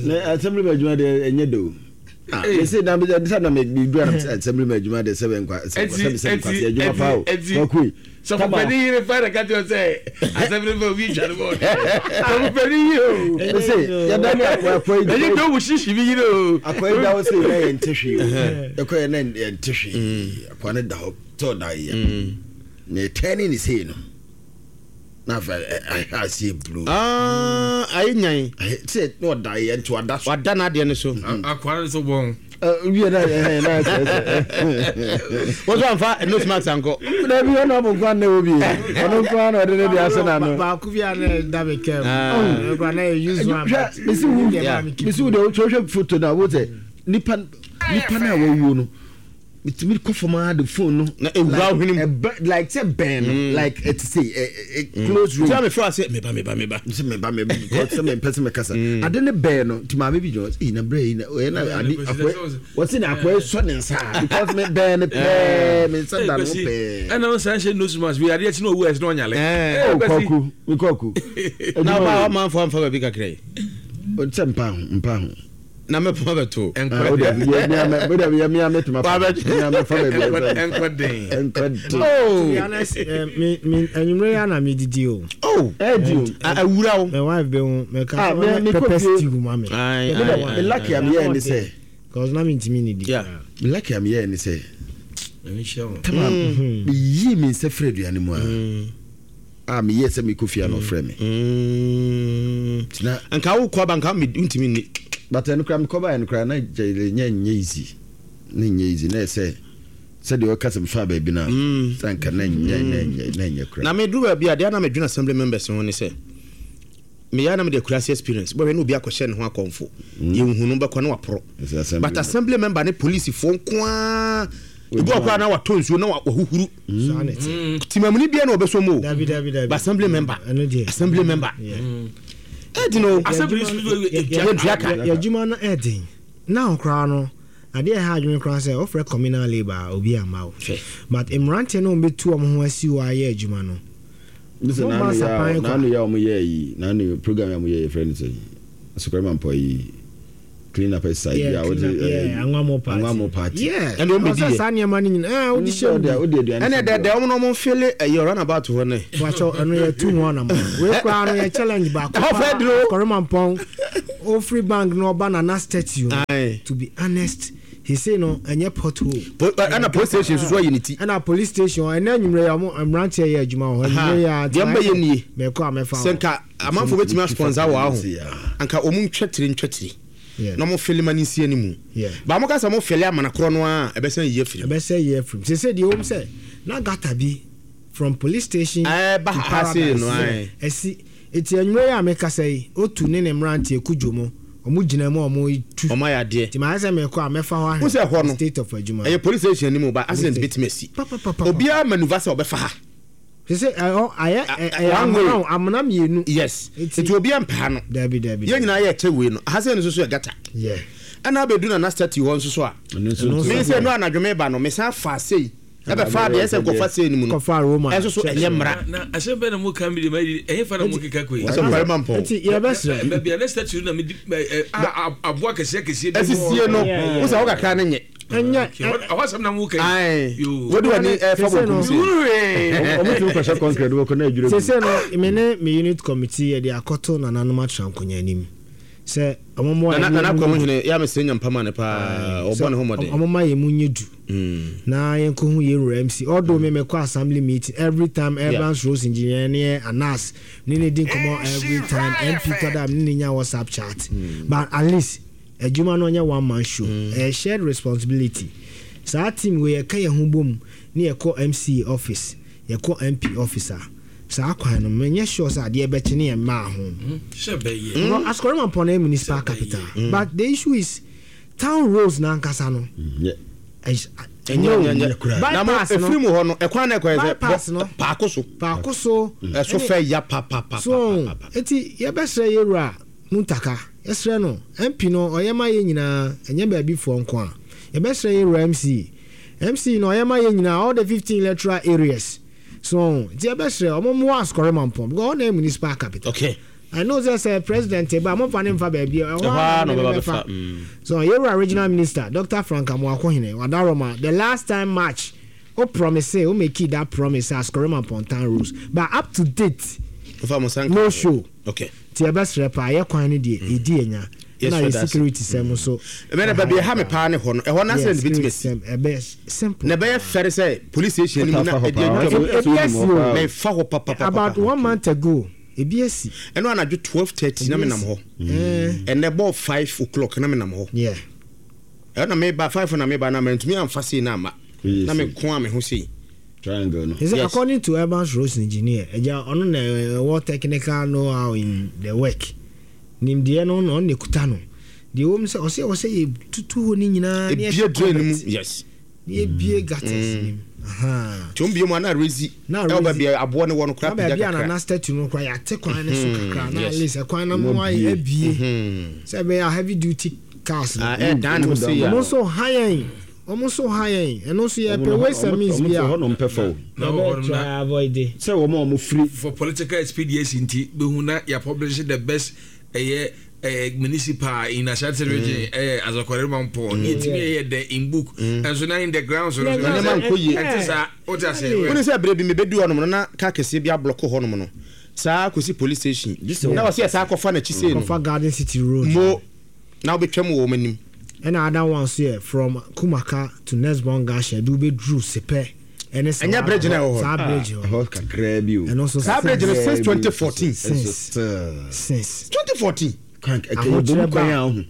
na assembly man adwuma de enye do ah me say na me say na me dura na assembly man adwuma de seven kwa seven seven kwa adwuma fa o kokui sɔfo pani yire fa na ka ti o sɛ assembly man obi twa no bɔ sɔfo pani yire o me say ya da ni akwa akwa yi enye do wo shishi bi yire o akwa yi da wo say na yɛ ntehwe o ekɔ na yɛ ntehwe akwa ne da hɔ to da yi ne turning is here no na fa I see blue ah ayi nyan say no da yi nto ada so wada na de ne so akwa ne so bon eh wie na eh na wo so amfa nose mask anko na bi ono bo kwan na obi ono kwan na ode ne de ase na no ba ku bia na da be kem o na use one me see wo me see wo de wo hwe photo na wo say nipa nipa na wo wuo no mitimi kofoma the phone no na ewura hwenim like say ben like it say a close room tell me for say meba meba meba say meba meba because say me person me kasa ade ne ben no ti ma me bi jo eh na bre na eh na ade akwa what say na akwa so ne nsa because me ben pe me nsa da no pe eh na nsa hye nose mask bi ade chi na owu es na onyale eh koku mi koku na ba man for amfa ba bi kakra yi o tse mpa ho mpa ho na me poma beto enko de me me me me tuma me me fa be enko den enko den oh to be honest me me enyumre ya na me didi o oh eh di awura o my wife be me ka pepper stew ma me me lucky am here ni say cause na me ntimi ni di yeah me lucky am here ni say me hia mo tama me yi me se frɛ aduane mu a ah me yes me kofia no frɛ me mm anka wo kwa banka me ntimi ni but enu kra me koba enu kra na nye nye easy na nye easy na say say the workers me fa ba bi na sanka na nye nye na nye kra na me duru ba bi ade na me dwena assembly members ho ne say me ya na me de kurasi experience bo hwe na obi akɔhyɛ ne ho akɔmfo ye nhunu bɛkɔ na waporo but assembly member ne police fo nko a ebi okra na wato nsuo na wahuhuru timamuni bia na obeso mo but assembly member assembly member Edi no assembly ya juma na edin na okra no ade e ha adwene kra sɛ ofre communal labor obi ama wo but emrante no mbetu om ho asi wo aye adwuma no listen na ya na no ya omo ye yi na no program ya mo ye friend say Supreme Ampo yi clean up side ya wo yeah anwamo party anwamo party yeah and o medi sa nema ni nyina eh wo di hye wo di aduane ene de de omo no mo feel eh run about ho ne wacho eno ye tu ho na mo we kra no ye challenge ba ko Korimampon o free bank no ba na na statue to be honest he say no enye pothole ana police station so unity ana police station ene anwumre ya mo mrantie ye adwuma ho anwumre ya de mba ye nie me ko amefa senka amanfo betimi sponsor wa ho anka omu ntwetire ntwetire no mo feel mani si animu ba mo ka sa mo feel amana kro no a ebese ye afiri ebese ye afiri se se de om se na gata bi from police station eh ba ha se no ai esi eti anwumre ya me kasa yi otu ne ne mrantie kudwo omu gina mu omu tu omu ayade ti ma se me ko amefa ho ahwe state of adwuma eh police station ni mu ba accident betimi asi obi a maneuver se obefa ha se se aye amuna amuna mienu yes eti obi ampa no dabi dabi ye nyina ye che we no ha se no so so gata yeah ana abedu na na statue ho nso so a me se no anadwome ba no me san fa sei ebe fa de ese kofa sei ni mu no kofa Roma eso so enye mra na ase be na mo kan bi de ma enye fa na mo keka koi so parima mpo eti ye besre be bi na statue na me aboa kese kese bi esisie no wo sa wo kakra ne nye enye awasam na mo kan ai wo de wani fa bokum se o mo tu ko sha concrete wo ko na adwure se se no me ne me unit committee ye de akoto na nanom atrankonya anim se omomo na na kwa mo hene ya me se nyampa ma ne pa obo ne ho mode omo ye mu nyedu na ye nko hu ye R M C although me me kwa assembly meeting every time Evans Rose engineer ne Anas ne ne din komo every time M P tada ne nya WhatsApp chat but at least adwuma no nya one man show a shared responsibility sa team we ye ka ye ho bom ne ye ko M C office ye ko M P officer Saa kwan no menyɛ sure sɛ adeɛ bɛkye ne yɛ mmaa ho. Sɛ bɛyɛ. Because Asukɔre Mampɔn na yɛ municipal capital. But the issue is town roads n'ankasa no. Ɛnyɛ nyɛ nyɛ. Na mo Bypass no. efiri mu hɔ no ɛkwan na ɛkɔ yɛ sɛ Bypass no. bɔ paako so. Paako so. Ɛso fɛ ya pa pa pa. So eti yɛbɛsrɛ yɛwura Muntaka yɛsrɛ no M P no ɔyɛ ma yɛ nyinaa, ɛnyɛ baabi foɔ nko a. Yɛbɛsrɛ yɛwura M C M C no ɔyɛ ma yɛ nyinaa, all the fifteen electoral areas. So nti yɛbɛsrɛ ɔmo mmoa Asukɔre Mampɔn because ɔna yɛ municipal capital. Okay. I know sɛ sɛ president ba mo fa ne nfa baabi ɛhɔ Ɛhɔ ara ara na na ɔbɛba ɔbɛfa. bɛfa. Mm. So yɛwura regional minister Doctor Frank Amoakohene Wadaroma, the last time March o promise, o make it that promise Asukɔre Mampɔn town roads, but up to date Nfa mo san. no show. Okay. Nti yɛbɛsrɛ paa, yɛ kwan no deɛ ɛdi anya Yes, na sir, yɛ that's it. security sɛm nso. Ɛbɛn na baabi ɛha me paa ne hɔ no, ɛhɔ n'asɛn de bi tumi si. Ɛbɛ simple. Na ɛbɛyɛ fɛre sɛ police station anim na ɛdi Ebi atwam. asi o. Mɛfa hɔ papapapa. About one month ago ebi asi. Ɛno anadwo twelve thirty na menam hɔ. Eh. Ɛnɛ bɔɔ five o'clock na menam hɔ. Yeah. Ɛno na meba five na meba na mɛntumi amfa sei na ama na meko a me ho sei. Triangle no. He said, Yes. according to urban roads engineer, ɛgya ɔno na ɛwɔ technical know-how in the work. Nimdeɛ no na ɔno na ekuta no. Deɛ wɔm sɛ ɔsɛ ɔsɛ yɛ tutu hɔ ne nyinaa. Ne Ebie yɛhyɛ drain no mu. culvert. Yes. Ne yɛbie gutters nim. Aha. Tí o ń bie mu a na rezi. Na ɛwɔ rezi. Baabi a aboɔ ne wɔ no kora Na pagya baabi a kakra. nana statue no kora yɛate kwan no so Mhm, kakra na yes. at least ɛkwan no mu ayɛ abie sɛ ɛbɛyɛ a heavy duty cars no. Ah, ɛ dan ne ho sei a. Ɔmo nso ha yɛn, ɔmo nso ha yɛn, ɛno nso yɛpɛ ways and means bi a hɔ nom pɛ fa o. Na wɔ hɔ nom yɛbɛ na- try avoid it. Sɛ wɔn a wɔn firi. For political expediency nti bɛhu na yɛ publish the best ɛyɛ ɛyɛ municipal in Ashanti Region, ɛyɛ Asokore Mampɔn ne yɛtumi ɛyɛ the in book, ɛnso na in the ground so no so Nneɛma nkɔ yie. Ɛnte saa, wote ase? Wone sɛ berɛ bi mebɛdu hɔnom no na kaa kɛseɛ bi ablɔko hɔnom no saa kɔsi police station na wɔsɛ yɛ saa kɔfa n'akyi sei no. Kɔfa Garden City Road. Mo na wobɛtwam wɔ wɔn anim. Ɛna other one so yɛ from Kumaka to Nesbon Gasha de wobɛduru Sepɛ ɛne saa. Ɛnyɛ bridge na ɛwɔ hɔ? Saa bridge hɔ. Ɛhɔ kakraa bi o. Ɛno nso Saa bridge no since twenty fourteen. Since since twenty fourteen. Kwan ɛkɛ ebom kwan a ɔho.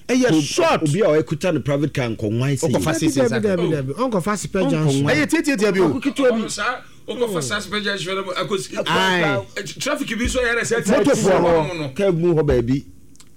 Ɛyɛ short. Obi a ɔkuta ne private car nkɔnwan sɛ. Ɔkɔfa Dabi dabi dabi dabi, ɔnkɔfa Sepɛ junction. Ɛyɛ tiatiatia bi o. Ketewa bi. Ɔno saa wokɔfa saa special junction no akɔsi Aye. traffic bi nso yɛrɛ sɛ Motofoɔ no kaa mu hɔ baabi.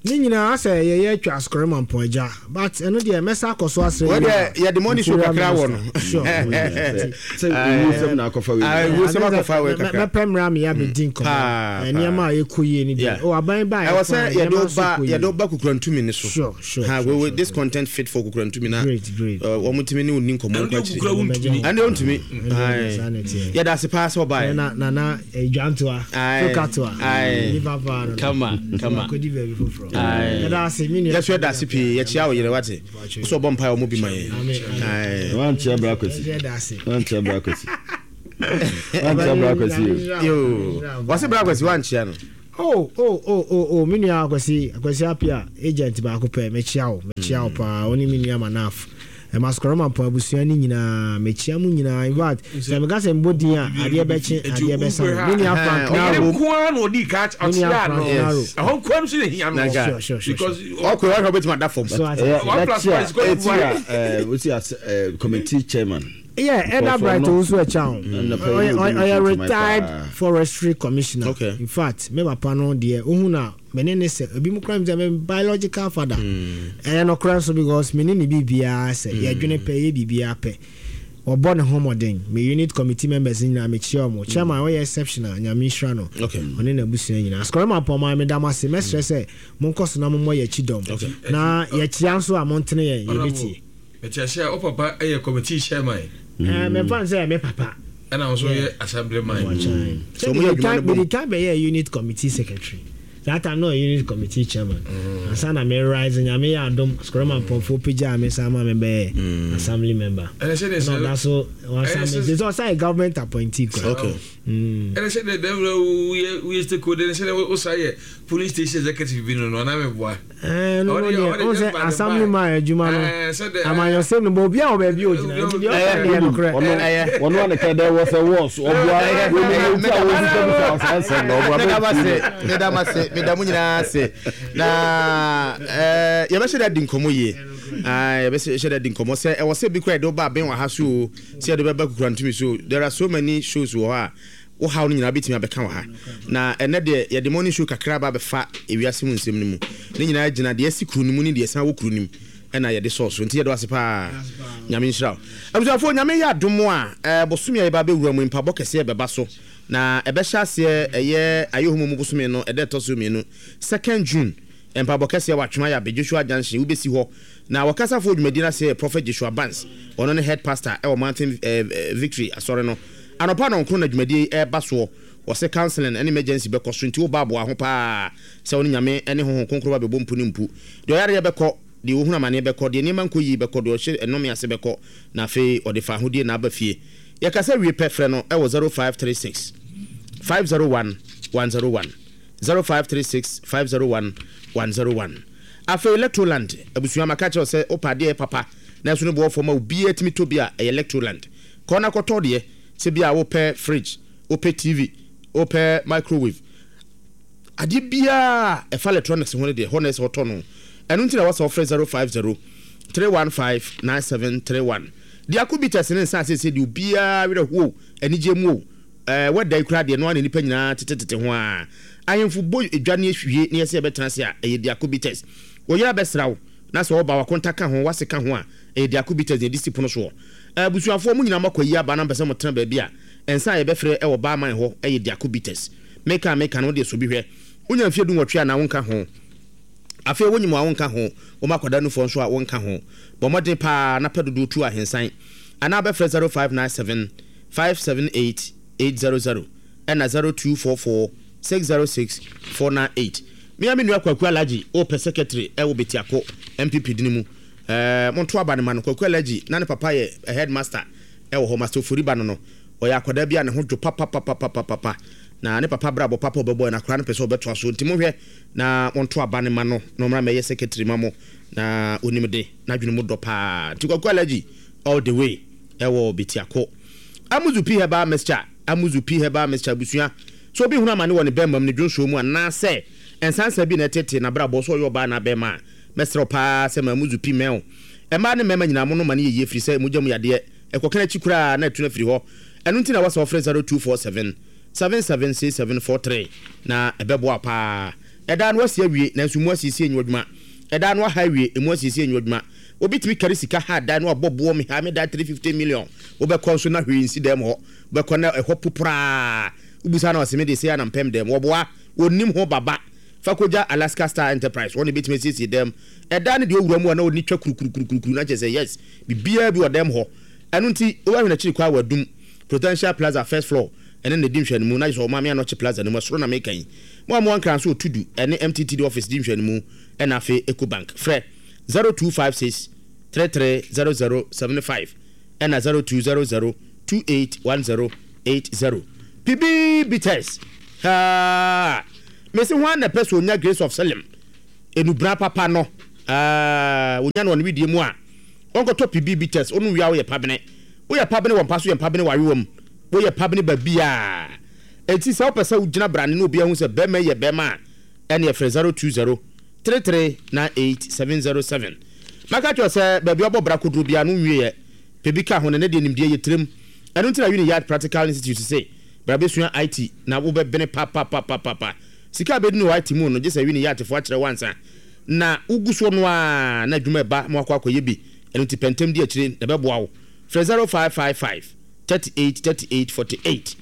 Ne nyinaa sɛ yɛyɛ atwa Asukɔre Mampɔn agya, but ɛno deɛ mɛsa akɔ so asrɛ. Wɔ deɛ yɛde money show kakra wɔ no. Sure. Sɛ owó na akɔfa wei. Ah, owó sɛm akɔfa wei kakra. Mɛpɛ mmerɛ a meyɛ abɛdi nkɔmmɔ. Paa, nneɛma a yɛkɔ yie no Yeah. deɛ o aban ba. Ɛwɔ sɛ yɛde wo ba yɛde wo ba Kukurantumi ne so. Sure, sure, Ha, sure, we we sure, this content fit for Kukurantumi na Great, great. uh, wɔn tumi ne wo ni nkɔmmɔ Ɛno nkɔ deɛ akyire. Kukura wontumi. Ɛno deɛ wontumi. Ɛno saa na Aye. ɛteɛ. Yɛda ase paa sɛ ɔbaeɛ. Na nana Dwantoa Aye. Tokatoa Aye. nipa paa no. Kama, kama. Akɔdi baabi foforɔ. Aye. Yɛda ase, me nua. Yɛso yɛda ase pii, yɛkyia wo yere wate wo sɛ ɔbɔ mpaeɛ ɔmo bi ma yɛn. Amen. Aye. Wankyia bra Kwasi. Yɛda ase. Wankyia bra Kwasi. Wankyia bra Kwasi o. Yo, wɔse bra Kwasi wankyia no. Oh oh oh oh oh, me nua Akwasi, Akwasi Apia agent baako pɛ, mekyia wo, mekyia wo paa, wo ne me nua Manaf ɛma Asukɔrɔ Mampɔn abusua no nyinaa, mekyia mu nyinaa. In fact, sɛ meka sɛ mbɔ din a, adeɛ bɛkye, adeɛ bɛsa. Me nua Frank Ɔyere Naro. nkoa na ɔdi ka Me nua ɔkyea Frank no. Naro. Ɛhɔ nkoa no so na hia no. Sure, sure, sure, because ɔkɔ ɔhwɛ wobɛtumi ada fam. So, ate- Ɛyɛ One plus one is equal to ɛti a wosi as committee chairman. Yeah, Elder Bright Owusu Ɛkyan. Ɛna pɛ ɔyɛ yi obi ɔyɛ nso retired paa. forestry commissioner. Okay. In fact, me papa no deɛ ohun na me ne ne sɛ ebi mu kura mi sɛ me biological father. Ɛyɛ no kura nso because me ne ne biribiara sɛ yɛdwene pɛ, yɛ biribiara pɛ, ɔbɔ ne ho mmɔden. Me unit committee members nyinaa mekyia ɔmo. Chairman ɔyɛ exceptional, Nyame nhyira no. Okay. Ɔne n'abusua nyinaa. Asukɔrɔ Mampɔn, meda mo ase. Mɛsrɛ sɛ monkɔ so na mommɔ yɛkyi dɔm na yɛkyia nso a montene yɛn yɛbɛtie. Ɛkyɛ sɛ wo papa ɛyɛ committee chairman. Ɛɛ, mɛmfa n sɛ me papa. Ɛna wo nso yɛ assembly man. So mo yɛ adwuma no bom. Mede kan bɛyɛ unit committee secretary. That time no unit committee chairman ansa na me rise. Nyame yɛ adom, Asukɔrɔ Mampɔnfoɔ pagyaa me san ma me bɛyɛ assembly member. Ɛnɛ sɛ de na sɛ ɔda so ɛnɛ wasan sɛ- me sɛ ɔsan yɛ government appointee kora. Okay. Mm. Ɛnɛ sɛ de dɛm na woyɛ woyɛ stakeholder, ɛnɛ sɛ de wosa yɛ police station executive bi no no anaa meboa? Ɛɛ, no no Ɔde- deɛ ɔde ɔn just sɛ by the assembly by. man adwuma no Ɛɛ, sɛ de- amanyɔsɛm no bɔ obi a wɔ baabi a ogyina nti deɛ ɔka deɛ nokorɛ. Ɔno ɔno a ne ka dɛ wɔ sɛ wɔs ɔboa wɔn ti a wɔn sisɛ bisa ɔsan sɛm na ɔboa. Meda mo ase, meda mo ase, meda mo nyinaa ase na ɛɛ, yɛbɛhyɛ dɛ di nkɔmmɔ yie. Ah, yɛbɛhyɛ dɛ di nkɔmmɔ sɛ ɛwɔ sɛ bi kora yɛde wo ba abɛn wɔ ha so o, sɛ yɛde bɛba Kukurantumi so. There are so many shows wɔ hɔ a Wo haw no nyinaa bɛtumi abɛka wɔ ha. Na ɛnɛ deɛ yɛde morning show kakra ba bɛfa ewiase mu nsɛm no mu. Ne nyinaa gyina deɛ asi kuro no mu ne deɛ ɛsan wɔ kuro no mu ɛna yɛde sɔɔ so. Nti yɛde wase paa. Nyame nhyira wo. Abusuafoɔ, Nyame yɛ adom a, eh, bosome a yɛba bɛwura mu mpabɔ kɛseɛ bɛba so. Na ɛbɛhyɛ aseɛ ɛyɛ Ayɛhomu mu bosome no ɛda ɛtɔ so mmienu, second June. Mpabɔ kɛseɛ wɔ Atwema Yabe Joshua Junction wobɛsi hɔ. Na wɔkasafoɔ dwumadie no ase yɛ Prophet Joshua Barnes. Ɔno ne head pastor ɛwɔ Mountain eh, Victory asɔre no. Anɔpa nɔnkron na dwumadie yi ɛreba soɔ. Wɔsɛ counseling ne emergency bɛkɔ so, nti woba aboa ho paa sɛ wo ne Nyame ne Honhom Kronkron ba bɛbɔ mpu ne mpu. Deɛ ɔyareɛ bɛkɔ, deɛ ɔhunu amaneɛ bɛkɔ, deɛ nneɛma nkɔ yie bɛkɔ, deɛ ɔhyɛ nnome ase bɛkɔ, na afei ɔde fa ahodie na aba fie. Yɛkasa wie pɛ, frɛ no ɛwɔ zero five three six five zero one one zero one, zero five three six five zero one one zero one. Afei Electroland abusua, maka kyerɛ wo sɛ wopɛ adeɛ papa na ɛso no boɔ fam a obiara tumi tɔ bi a, ɛyɛ Electroland. Kɔ na kɔtɔ deɛ, sɛ bi a wopɛ fridge, wopɛ T V, wopɛ microwave, adeɛ biara ɛfa electronics ho no deɛ, hɔ na ɛsɛ wɔtɔ no. Ɛno nti na wɔsɛ wɔfrɛ zero five zero three one five nine seven three one. Diako Bitters ne nsa asese deɛ obiara werɛ ho anigye mu o. Ɛɛ wɔda yi koraa deɛ no ana nipa nyinaa tetetete ho a ahemfo bɔ edwa ne ehwie ne yɛsɛ yɛbɛtena ase a, ɛyɛ Diako Bitters. Wɔyɛ abɛsra wo na sɛ ɔba wakonta ka ho wase ka ho a, ɛyɛ Diako Bitters na yɛde si pono soɔ. Abusuafoɔ mo nyinaa makɔ yi aba na mpɛ sɛ mo tena baabi a nsa a yɛbɛfrɛ ɛwɔ baaman hɔ ɛyɛ Diako Bitters. Meka meka no deɛ so bi hwɛ wonya mfeɛ du nwɔtwe a na wonka ho. Afei wonyim a wonka ho, wɔn akwadaa nufoɔ nso a wonka ho. Bɔ mmɔden paa na pɛ dodoɔ tu ahensan anaa bɛfrɛ zero five nine seven five seven eight eight zero zero ɛna zero two four four six zero six four nine eight. Mmea me nua Kwaku Alagye wɔpɛ secretary ɛwɔ Betiako N P P dini mu. ɛɛ monto aba ne ma no. Kwaku Alagye na ne papa yɛ headmaster ɛwɔ hɔ, Master Ofori ba no no ɔyɛ akwadaa bi a ne ho dwo papapapapapa na ne papa brabɔ papa ɔbɛbɔ na akwadaa no pɛ sɛ ɔbɛtoa so, nti mohwɛ na monto aba ne ma no na ɔmmra mɛyɛ secretary ma mo na onim de n'adwene mu dɔ paa. Nti Kwaku Alagye all the way ɛwɔ Betiako. Amuzu P Herbal Mixture, Amuzu P Herbal Mixture abusua, so obi hunu amane wɔ ne bɛrima mu ne dwonsuo mu anaasɛ nsansa bi na ɛtete n'abrabɔ so, ɔyɛ ɔbaa na bɛrima a, mɛsrɛ paa sɛ ma Amuzu P mɛn mmaa ne mmarima nyinaa mo no ma no yɛ yie, firi sɛ mogya mu yadeɛ ɛkɔka n'akyi koraa na ɛtu no afiri hɔ. Ɛno nti na wɔsɛ wɔfrɛ zero two four seven seven seven six seven four three na ɛbɛboa paa. Ɛdaa no asi awie nanso mu asiesie nyɛ adwuma. Ɛdaa no aha awie, emu asiesie nyɛ adwuma. Obi tumi kari sika ha dan no abɔ boɔ mi ha mi dan three fifty million, wobɛkɔ nso na hwee nsi dɛm hɔ. Wobɛkɔ na ɛhɔ poporaa, wobusa na ɔsɛ mi de se anampɛm dɛm wɔboa wɔnim ho baba. Fa kɔgya Alaska Star Enterprise, wɔn na ebɛtumi asiesie dɛm ɛdan no deɛ owura mu a na ɔni twa kurukurukurukuru na kyerɛ sɛ yes, biribiara bi wɔ dɛm hɔ. Ɛno nti wobɛhwɛ n'akyiri kɔ a wadum Prudential Plaza first floor ɛne ne di nhwɛnimu na kyerɛ sɛ Ɔmaame Anɔkye Plaza no mu ɛsoro na meka yi. Mo a mo ankra nso otudu ɛne M T T D office di nhwɛnimu ɛna afei Ecobank. Frɛ zero two five six three three zero zero seven five ɛna zero two zero zero two eight one zero eight zero. P B Bitters haa mesi ho ana pɛ sɛ onya Grace of Selim enubra papa no aa onya no wɔ ne widie mu a wɔnkɔtɔ P B Bitters. Ɔno wia woyɛ pabene, woyɛ pabene wɔ mpa so, yɛ pabene wɔ awewa mu, woyɛ pabene baabiaa. Enti sɛ wopɛ sɛ wogyina brane na obi ahu sɛ bɛrima yɛ bɛrima a, ɛne ɛfrɛ zero two zero three three nine eight seven zero seven. Maka kyerɛ sɛ baabi ɔbɔ bra koduro biara no nwieɛ pɛ bi ka ho ne ne deɛ nimdeɛ yɛ tirim. Ɛno nti na Uniyard Practical Institute sɛ bra bɛsua I T na wobɛbene papapapapapa. Sika a bɛdi no wɔ I T mu no gye sɛ Uniyard foɔ akyerɛ wansa na wogu soɔ no a na adwuma ɛba ma wakɔ akɔyɛ bi. Ɛno nti pɛntɛm di akyire na ɛbɛboa wo. Frɛ zero five five five thirty-eight thirty-eight forty-eight.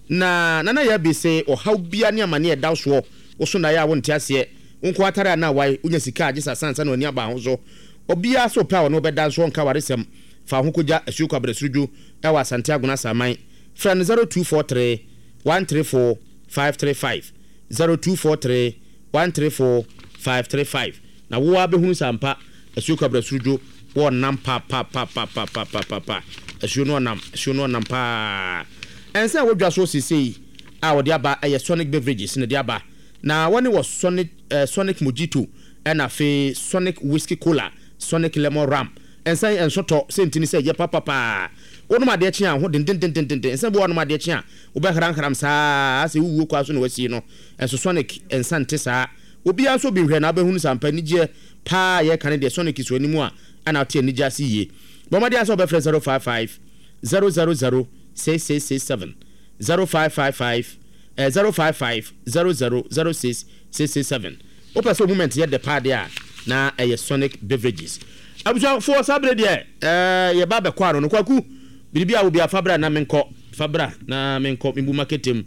Na nana yɛ bi sɛ ɔhaw bia ne amane ɛda soɔ woso na yɛ a wonte aseɛ wo nko atare a na wae wonya sika a gye sɛ asansa na w'ani aba ho so. Obiara sɛ ɔpɛ a ɔne wobɛda nso ɔnka waresɛm. Fa wo ho kɔgya Asuo Kwabrɛ Surodwo ɛwɔ Asante Agona Saman. Frɛ no zero two four three one three four five three five, zero two four three one three four five three five na wo a bɛhunu sɛ ampa Asuo Kwabrɛ Surodwo wɔnam papapapapapapapa. Asuo no ɔnam, asuo no ɔnam paa. Ɛnsa a wɔdwa so seesei a wɔde aba ɛyɛ Sonic Beverages na de aba na wɔne wɔ Sonic eh, Sonic Mojito ɛna afei Sonic Whisky Cola, Sonic Lemon Rum. Ɛnsa yi ɛnso tɔ sɛ ntini sɛ ɛyɛ papapaa. Wonom adeɛ kye a ho dendendendenden. Nsa bi wɔ wɔnom adeɛ kye a wobɛhranhram saa sɛ wowuo kɔ so na wasie no. Ɛnso Sonic nsa nte saa. Obiara nso bi nhwɛ na wobɛhunu sɛ ampa anigyeɛ paa yɛka ne deɛ Sonic so anim a ɛna wote anigye ase yie. Bɔ mmɔden sɛ wobɛfrɛ zero five five zero zero zero six six six seven zero five five five eh, zero five five zero zero zero six six six seven. Wopɛ sɛ moment yɛ dɛ paa deɛ a, na ɛyɛ Sonic Beverages. Abusuafoɔ, saa bere deɛ ɛɛ yɛba abɛkɔ ano no. Kwaku, biribi a obi a fabra na menkɔ, fabra na menkɔ mebu maketem.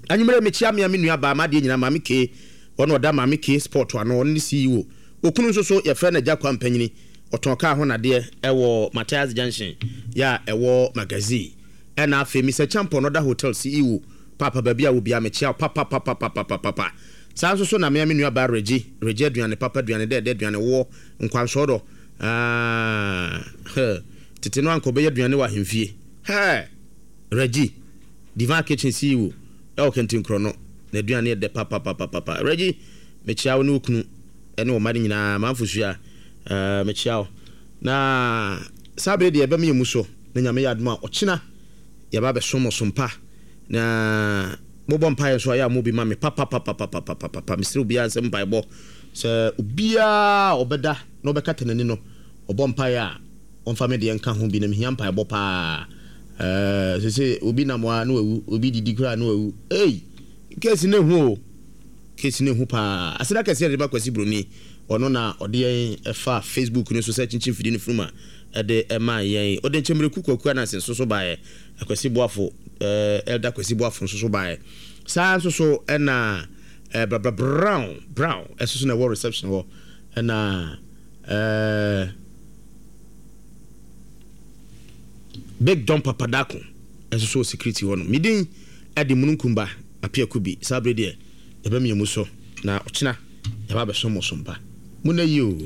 Anwummerɛ mekyia mmea me nua baa m'adeɛ nyinaa, Maame K. Ɔno ɔda Maame K Sport ano, ɔno ne C E O. Okunu nso so yɛfrɛ no Agya Kwa Mpanyini, ɔtɔn kaa ho nadeɛ ɛwɔ Matthias Junction yɛ a ɛwɔ Magazine. Ɛna afei Mister Champon, ɔda hotel C E O papa, baabi a obi a mekyia wo papapapapapapa. Saa nso so na mmea me nua baa Reggie, Reggie aduane papa, aduane dɛɛdɛ, aduane woɔ nkwansɔɔ dɔ. Aa, tete no anka ɔbɛyɛ aduane wɔ ahemfie. Hɛ, Reggie Divine Kitchen C E O ɛwɔ Kɛntinkorɔ no, na aduane yɛ dɛ papapapapa. Reggie, mekyia wo ne wo kunu ɛne wo mma no nyinaa. Manfo sua, ɛɛ mekyia wo. Na saa bere deɛ ɛbɛma yɛ mu so na Nyame yɛ adom a, ɔkyena yɛba bɛsom ɔsom pa. Na mobɔ mpaeɛ nso a, yɛ a mo bi ma me papapapapapapa. Mesrɛ obiara sɛ mpaebɔ sɛ obiara ɔbɛda na ɔbɛkata n'ani no, ɔbɔ mpaeɛ a, ɔmfa me deɛ nka ho bi, na mehia mpaebɔ paa. ɛɛ sɛ obi nam hɔ a na wawu, obi didi koraa na wawu. Ei, case ne hu o, case ne hu paa. Aseda kɛseɛ de ma Kwasi Broni, ɔno na ɔde yɛn ɛfa Facebook no so sɛ kyinkyin fidie no funuma ɛde ɛma yɛn. Ɔde nkyɛnmmereku Kwaku Ananse nso so baeɛ, Akwasi Boafo, ɛɛ Elder Kwasi Boafo nso so baeɛ. Saa nso so ɛna ɛɛ Brabra Brown Brown ɛso so na ɛwɔ reception hɔ, ɛna ɛɛ Big Don Papadako ɛnso so wɔ security hɔ no. Medin ɛde Mununkumba Apiaku bi. Saa bere deɛ yɛbɛmia mu so na ɔkyena yɛba abɛsom mo so mpa mu na yi o.